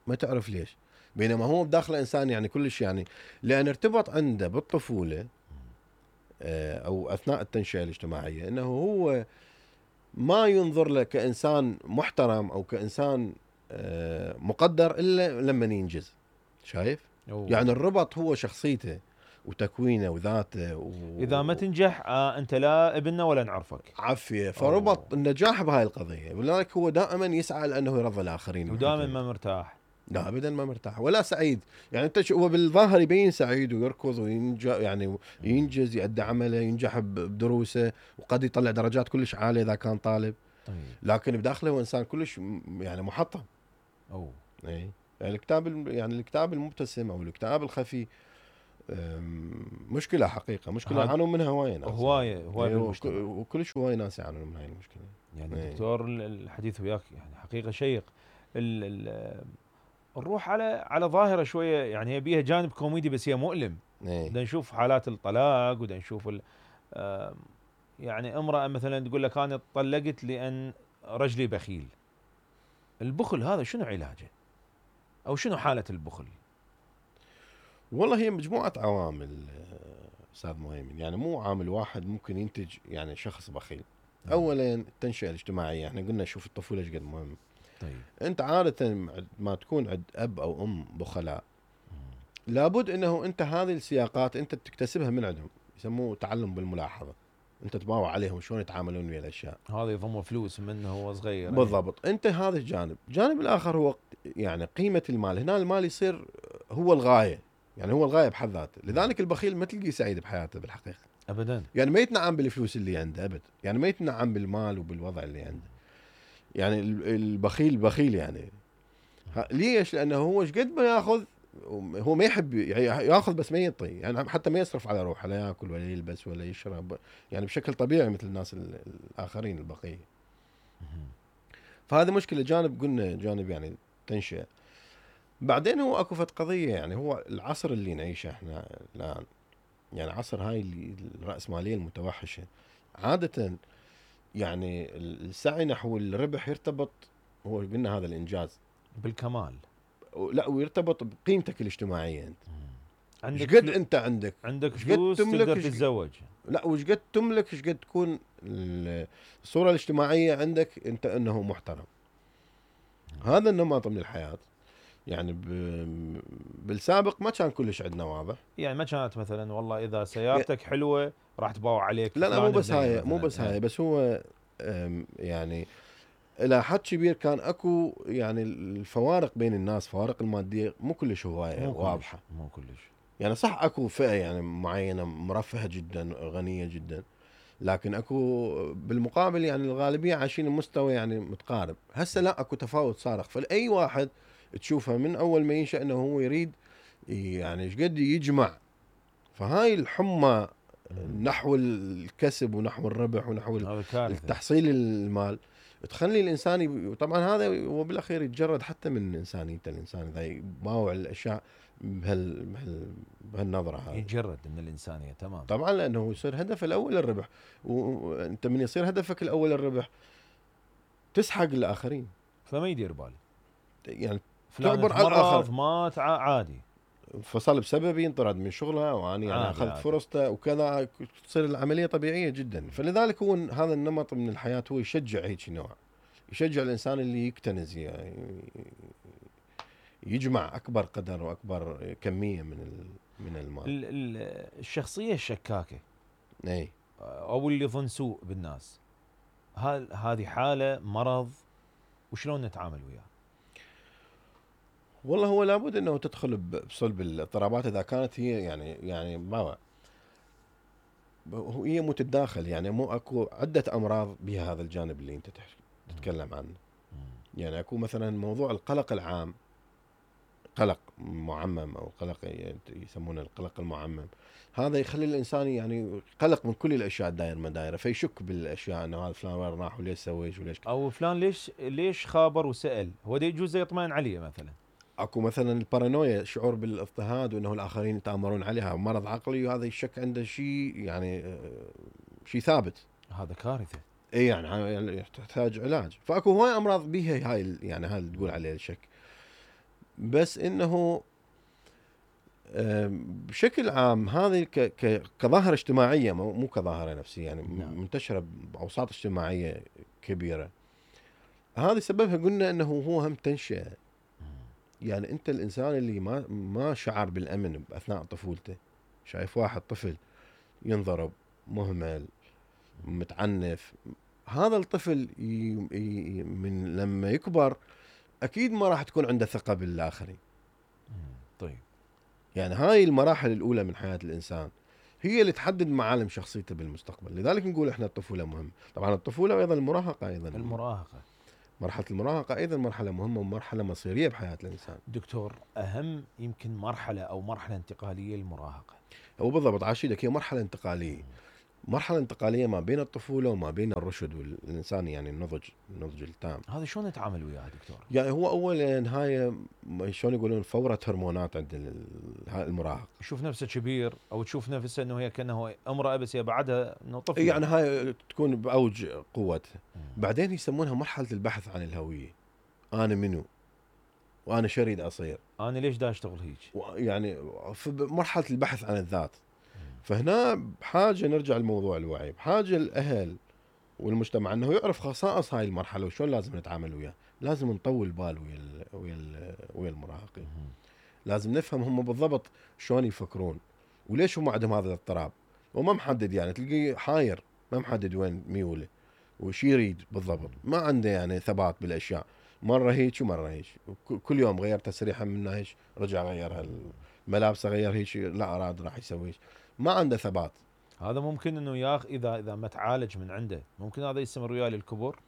Speaker 2: ما تعرف ليش بينما هو بداخله انسان يعني كلش يعني لان ارتبط عنده بالطفوله او اثناء التنشئه الاجتماعيه انه هو ما ينظر له كانسان محترم او كانسان مقدر الا لما ينجز شايف أوه. يعني الربط هو شخصيته وتكوينه وذاته و...
Speaker 1: اذا ما تنجح آه انت لا ابننا ولا نعرفك.
Speaker 2: عافيه، فربط أوه. النجاح بهاي القضيه، ولذلك هو دائما يسعى لانه يرضي الاخرين،
Speaker 1: ودائما ما مرتاح.
Speaker 2: لا ابدا ما مرتاح ولا سعيد. يعني انت هو بالظاهر يبين سعيد ويركض وينجز، يعني ينجز، يؤدي عمله، ينجح بدروسه، وقد يطلع درجات كلش عاليه اذا كان طالب. طيب. لكن بداخله هو انسان كلش يعني محطم.
Speaker 1: اوه
Speaker 2: اي يعني الكتاب، يعني الكتاب المبتسم او الكتاب الخفي مشكله حقيقه، مشكله يعانون منها هوايه ناس،
Speaker 1: هوايه هوايه بالمجتمع،
Speaker 2: وكلش هوايه ناس يعانون من هاي المشكله.
Speaker 1: يعني ايه. دكتور الحديث وياك يعني حقيقه شيق. ال ال نروح على على ظاهره شويه، يعني هي بيها جانب كوميدي بس هي مؤلم. بدنا نشوف حالات الطلاق، ودا نشوف يعني امراه مثلا تقول لك انا طلقت لان رجلي بخيل. البخل هذا شنو علاجه؟ او شنو حاله البخل؟
Speaker 2: والله هي مجموعه عوامل استاذ مهيمن، يعني مو عامل واحد ممكن ينتج يعني شخص بخيل. م. اولا التنشئه الاجتماعيه، احنا قلنا شوف الطفوله ايش قد مهم. طيب انت عاده ما تكون عند اب او ام بخلاء، لابد انه انت هذه السياقات انت تكتسبها من عندهم، يسموه تعلم بالملاحظه. انت تباوع عليهم شلون يتعاملون ويا الاشياء،
Speaker 1: هذا يضم فلوس منه هو صغير.
Speaker 2: بالضبط. انت هذا الجانب. الجانب الاخر هو يعني قيمه المال. هنا المال يصير هو الغايه، يعني هو الغايه بحد ذاته. لذلك البخيل ما تلقيه سعيد بحياته بالحقيقه
Speaker 1: ابدا،
Speaker 2: يعني ما يتنعم بالفلوس اللي عنده ابد، يعني ما يتنعم بالمال وبالوضع اللي عنده. يعني البخيل بخيل يعني ليش؟ لانه هو ايش قد ما ياخذ هو ما يحب ياخذ، بس ما يعطي، يعني حتى ما يصرف على روحه، لا ياكل ولا يلبس ولا يشرب، يعني بشكل طبيعي مثل الناس الاخرين البقيه. فهذا مشكله. جانب قلنا جانب يعني تنشئه. بعدين هو اكو فت قضيه، يعني هو العصر اللي نعيشه احنا الان، يعني عصر هاي الرأسمالية المتوحشة، عادة يعني السعي نحو الربح يرتبط، هو قلنا هذا الإنجاز
Speaker 1: بالكمال،
Speaker 2: لا ويرتبط بقيمتك الاجتماعية. أنت
Speaker 1: عندك
Speaker 2: قد أنت عندك
Speaker 1: عندك فلوس تقدر تتزوج،
Speaker 2: لا وش قد تملك، ايش قد تكون الصورة الاجتماعية عندك أنت أنه محترم. هذا النمط من الحياة يعني بالسابق ما كان كلش عندنا واضح.
Speaker 1: يعني ما كانت مثلا والله اذا سيارتك يعني حلوه راح تباوع عليك.
Speaker 2: لا لا مو بس هاي، مو بس هاي، بس هو يعني الى حد كبير كان اكو يعني الفوارق بين الناس، فوارق الماديه مو كلش هوايه واضحه،
Speaker 1: مو كلش.
Speaker 2: يعني صح اكو فئه يعني معينه مرفهه جدا غنيه جدا، لكن اكو بالمقابل يعني الغالبيه عايشين بمستوى يعني متقارب. هسه لا، اكو تفاوت صارخ. فاي واحد تشوفه من اول ما ينشأ انه هو يريد يعني ايش قد يجمع، فهاي الحمى نحو الكسب ونحو الربح ونحو التحصيل المال تخلي الانسان ي... طبعا هذا هو بالاخير يتجرد حتى من انسانيته. الانسان اذا يباوع الاشياء بهال... بهال... بهالنظره هذه
Speaker 1: يتجرد من الانسانيه تمام.
Speaker 2: طبعا لانه يصير هدفه الاول الربح، وانت من يصير هدفك الاول الربح تسحق الاخرين،
Speaker 1: فما يدير باله
Speaker 2: يعني
Speaker 1: تعبر على الاخر، مات عادي،
Speaker 2: فصل بسبب ينطرد من شغلها واني يعني اخذت فرصته وكذا، تصير العمليه طبيعيه جدا. فلذلك هو هذا النمط من الحياه هو يشجع هيك نوع، يشجع الانسان اللي يكتنز يعني يجمع اكبر قدر واكبر كميه من من المال.
Speaker 1: الشخصيه الشكاكه
Speaker 2: اي
Speaker 1: او اللي يظن سوء بالناس، هل هذه حاله مرض وشلون نتعامل وياه؟
Speaker 2: والله هو لابد انه تدخل بصلب الاضطرابات اذا كانت هي يعني يعني ما هي متداخل، يعني مو اكو عده امراض بها هذا الجانب اللي انت تتكلم عنه. يعني اكو مثلا موضوع القلق العام، قلق معمم او قلق يسمونه القلق المعمم، هذا يخلي الانسان يعني قلق من كل الاشياء الداير ما دايره، فيشك بالاشياء انه هذا فلان وين راح وليش سوى وليش
Speaker 1: او فلان ليش ليش خابر وسال، هو ده يجوز يطمئن عليه مثلا.
Speaker 2: اكو مثلا البارانويا، شعور بالاضطهاد وانه الاخرين يتامرون عليها، مرض عقلي، وهذا الشك عنده شيء يعني شيء ثابت،
Speaker 1: هذا كارثه.
Speaker 2: اي يعني تحتاج علاج. فاكو هواي امراض بيها هاي يعني هاي اللي تقول عليه الشك. بس انه بشكل عام هذه كظاهره اجتماعيه مو كظاهره نفسيه، يعني نعم. منتشره باوساط اجتماعيه كبيره. هذه سببها قلنا انه هو هم تنشئه. يعني انت الانسان اللي ما ما شعر بالامن اثناء طفولته شايف واحد طفل ينضرب، مهمل، متعنف، هذا الطفل ي... ي... من لما يكبر اكيد ما راح تكون عنده ثقة بالاخرين.
Speaker 1: طيب
Speaker 2: يعني هاي المراحل الاولى من حياة الانسان هي اللي تحدد معالم شخصيته بالمستقبل. لذلك نقول احنا الطفولة مهمة. طبعا الطفولة وايضا المراهقة ايضا
Speaker 1: المراهقة،
Speaker 2: مرحلة المراهقة ايضا مرحلة مهمة ومرحلة مصيرية بحياة الانسان.
Speaker 1: دكتور اهم يمكن مرحلة او مرحلة انتقالية المراهقة.
Speaker 2: هو بالضبط عاشيدك، هي مرحلة انتقالية، مرحلة انتقالية ما بين الطفولة وما بين الرشد والإنسان، يعني النضج، النضج التام.
Speaker 1: هذا شلون نتعامل وياه دكتور؟
Speaker 2: يعني هو أول هاي شلون يقولون فورة هرمونات عند المراهق.
Speaker 1: يشوف نفسه كبير أو تشوف نفسه أنه هي كأنه امرأة بس هي بعدها أنه طفل.
Speaker 2: يعني هاي تكون بأوج قوتها. بعدين يسمونها مرحلة البحث عن الهوية. أنا منو؟ وأنا شو أريد أصير؟
Speaker 1: أنا ليش دا أشتغل هيك؟
Speaker 2: يعني في مرحلة البحث عن الذات. فهنا بحاجة نرجع لموضوع الوعي، بحاجة الأهل والمجتمع انه يعرف خصائص هاي المرحله وشلون لازم نتعامل وياه. لازم نطول بال ويا ال ويا ال ويا المراهقين. لازم نفهم هم بالضبط شلون يفكرون وليش هم عندهم هذا الاضطراب. وما محدد، يعني تلقيه حاير ما محدد وين ميوله وش يريد بالضبط، ما عنده يعني ثبات بالاشياء. مره هيك ومره هيك، كل يوم غير تسريحه من هيك رجع غيرها، الملابس غير هيك لا اراد راح يسوي هيك، ما عنده ثبات.
Speaker 1: هذا ممكن انه ياخ اذا اذا ما تعالج من عنده ممكن هذا يستمر وياه للكبر،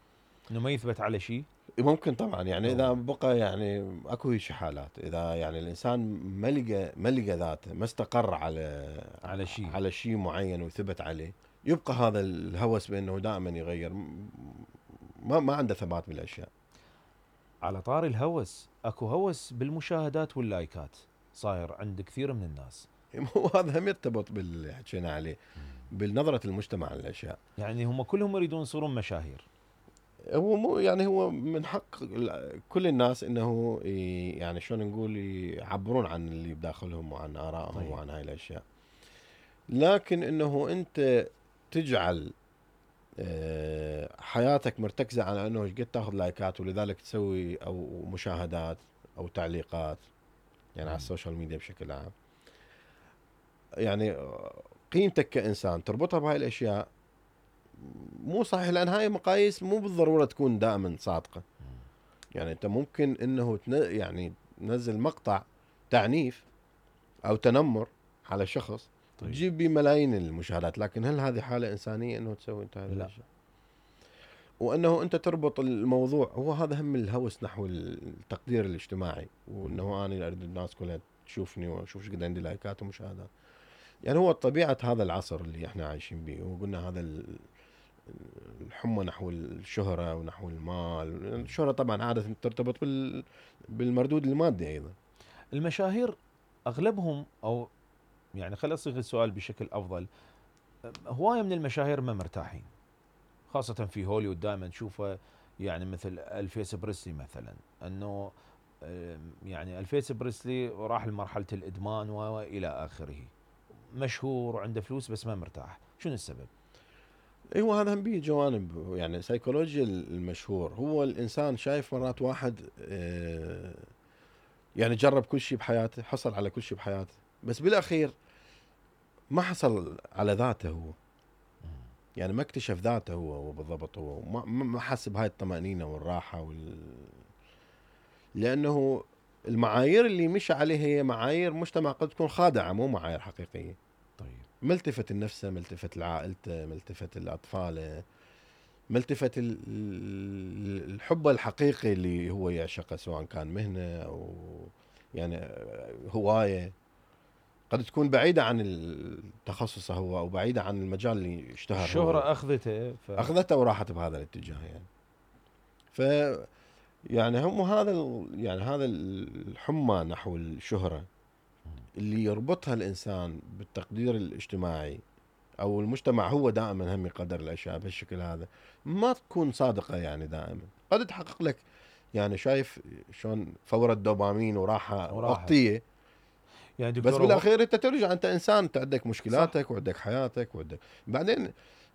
Speaker 1: انه ما يثبت على شيء.
Speaker 2: ممكن طبعا، يعني اذا بقى يعني اكو هيك حالات، اذا يعني الانسان ما لقى ما لقى ذاته، ما استقر على
Speaker 1: على شيء
Speaker 2: على شيء معين وثبت عليه، يبقى هذا الهوس بانه دائما يغير، ما ما عنده ثبات بالاشياء.
Speaker 1: على طار الهوس، اكو هوس بالمشاهدات واللايكات صاير عند كثير من الناس.
Speaker 2: وهذا هم يرتبط باللي حكينا عليه، بالنظرة المجتمع للاشياء.
Speaker 1: يعني هم كلهم يريدون يصيرون مشاهير.
Speaker 2: هو مو يعني هو من حق كل الناس انه يعني شلون نقول يعبرون عن اللي بداخلهم وعن ارائهم. طيب. وعن هاي الاشياء، لكن انه انت تجعل حياتك مرتكزة على انه ايش قد تاخذ لايكات ولذلك تسوي او مشاهدات او تعليقات يعني م. على السوشيال ميديا بشكل عام، يعني قيمتك كإنسان تربطها بهاي الاشياء مو صحيح، لان هاي مقاييس مو بالضرورة تكون دائما صادقة. يعني انت ممكن انه يعني تنزل مقطع تعنيف او تنمر على شخص طيب. تجيب بيه ملايين المشاهدات، لكن هل هذه حالة انسانية انه تسوي انت هذا الشيء؟ وانه انت تربط الموضوع، هو هذا هم الهوس نحو التقدير الاجتماعي، وانه انا اريد الناس كلها تشوفني واشوف ايش قد عندي لايكات ومشاهدات. يعني هو طبيعة هذا العصر اللي احنا عايشين به، وقلنا هذا الحمى نحو الشهرة ونحو المال. الشهرة طبعا عادة ترتبط بالمردود المادي أيضا.
Speaker 1: المشاهير أغلبهم، أو يعني خلينا أصيغ السؤال بشكل أفضل، هواية من المشاهير ما مرتاحين، خاصة في هوليوود دائما نشوفه، يعني مثل الفيس بريسلي مثلا، أنه يعني الفيس بريسلي راح لمرحلة الإدمان وإلى آخره، مشهور وعنده فلوس بس ما مرتاح. شنو السبب؟
Speaker 2: ايوه هذا هم بيه جوانب، يعني سيكولوجيا المشهور. هو الانسان شايف مرات واحد يعني جرب كل شيء بحياته، حصل على كل شيء بحياته، بس بالاخير ما حصل على ذاته هو، يعني ما اكتشف ذاته هو هو بالضبط، هو ما ما حس بهاي الطمأنينة والراحة وال... لانه المعايير اللي مشى عليها هي معايير مجتمع قد تكون خادعة، مو معايير حقيقية.
Speaker 1: طيب
Speaker 2: ملتفت لنفسه، ملتفت لعائلته، ملتفت لأطفاله، ملتفت الحب الحقيقي اللي هو يعشقه، سواء كان مهنة أو يعني هواية قد تكون بعيدة عن تخصصه هو أو بعيدة عن المجال اللي اشتهر.
Speaker 1: الشهرة أخذته ف...
Speaker 2: أخذته وراحت بهذا الاتجاه يعني. ف يعني هم هذا يعني هذا الحمى نحو الشهرة اللي يربطها الإنسان بالتقدير الاجتماعي أو المجتمع، هو دائما هم يقدر الأشياء بهالشكل هذا، ما تكون صادقة. يعني دائما قد تحقق لك، يعني شايف شلون فورة دوبامين وراحة وقتية، يعني بس بالأخير أنت ترجع أنت إنسان، أنت عندك مشكلاتك صح. وعندك حياتك وعندك بعدين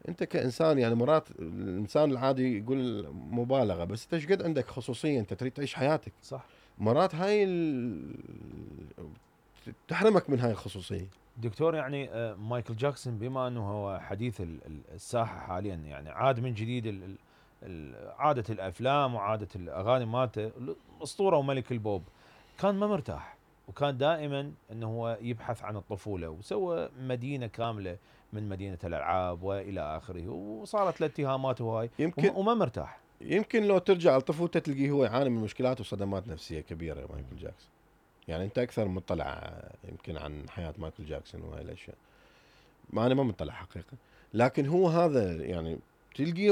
Speaker 2: أنت كإنسان. يعني مرات الإنسان العادي يقول مبالغة، بس أنت ايش قد عندك خصوصية، أنت تريد تعيش حياتك
Speaker 1: صح.
Speaker 2: مرات هاي ال... تحرمك من هاي الخصوصية.
Speaker 1: دكتور يعني آه، مايكل جاكسون بما انه هو حديث ال- ال- الساحه حاليا، يعني عاد من جديد ال- ال- ال- عاده الافلام وعاده الاغاني مالته، الاسطوره وملك البوب، كان ما مرتاح، وكان دائما انه هو يبحث عن الطفوله، وسوى مدينه كامله من مدينه الالعاب والى اخره، وصارت له اتهامات وهاي،
Speaker 2: يمكن
Speaker 1: وما وما مرتاح.
Speaker 2: يمكن لو ترجع لطفولته تلقيه هو يعاني من مشكلات وصدمات نفسيه كبيره مايكل جاكسون. يعني انت اكثر مطلع يمكن عن حياه مايكل جاكسون وهاي الاشياء. ما انا ما مطلع حقيقه، لكن هو هذا يعني تلقيه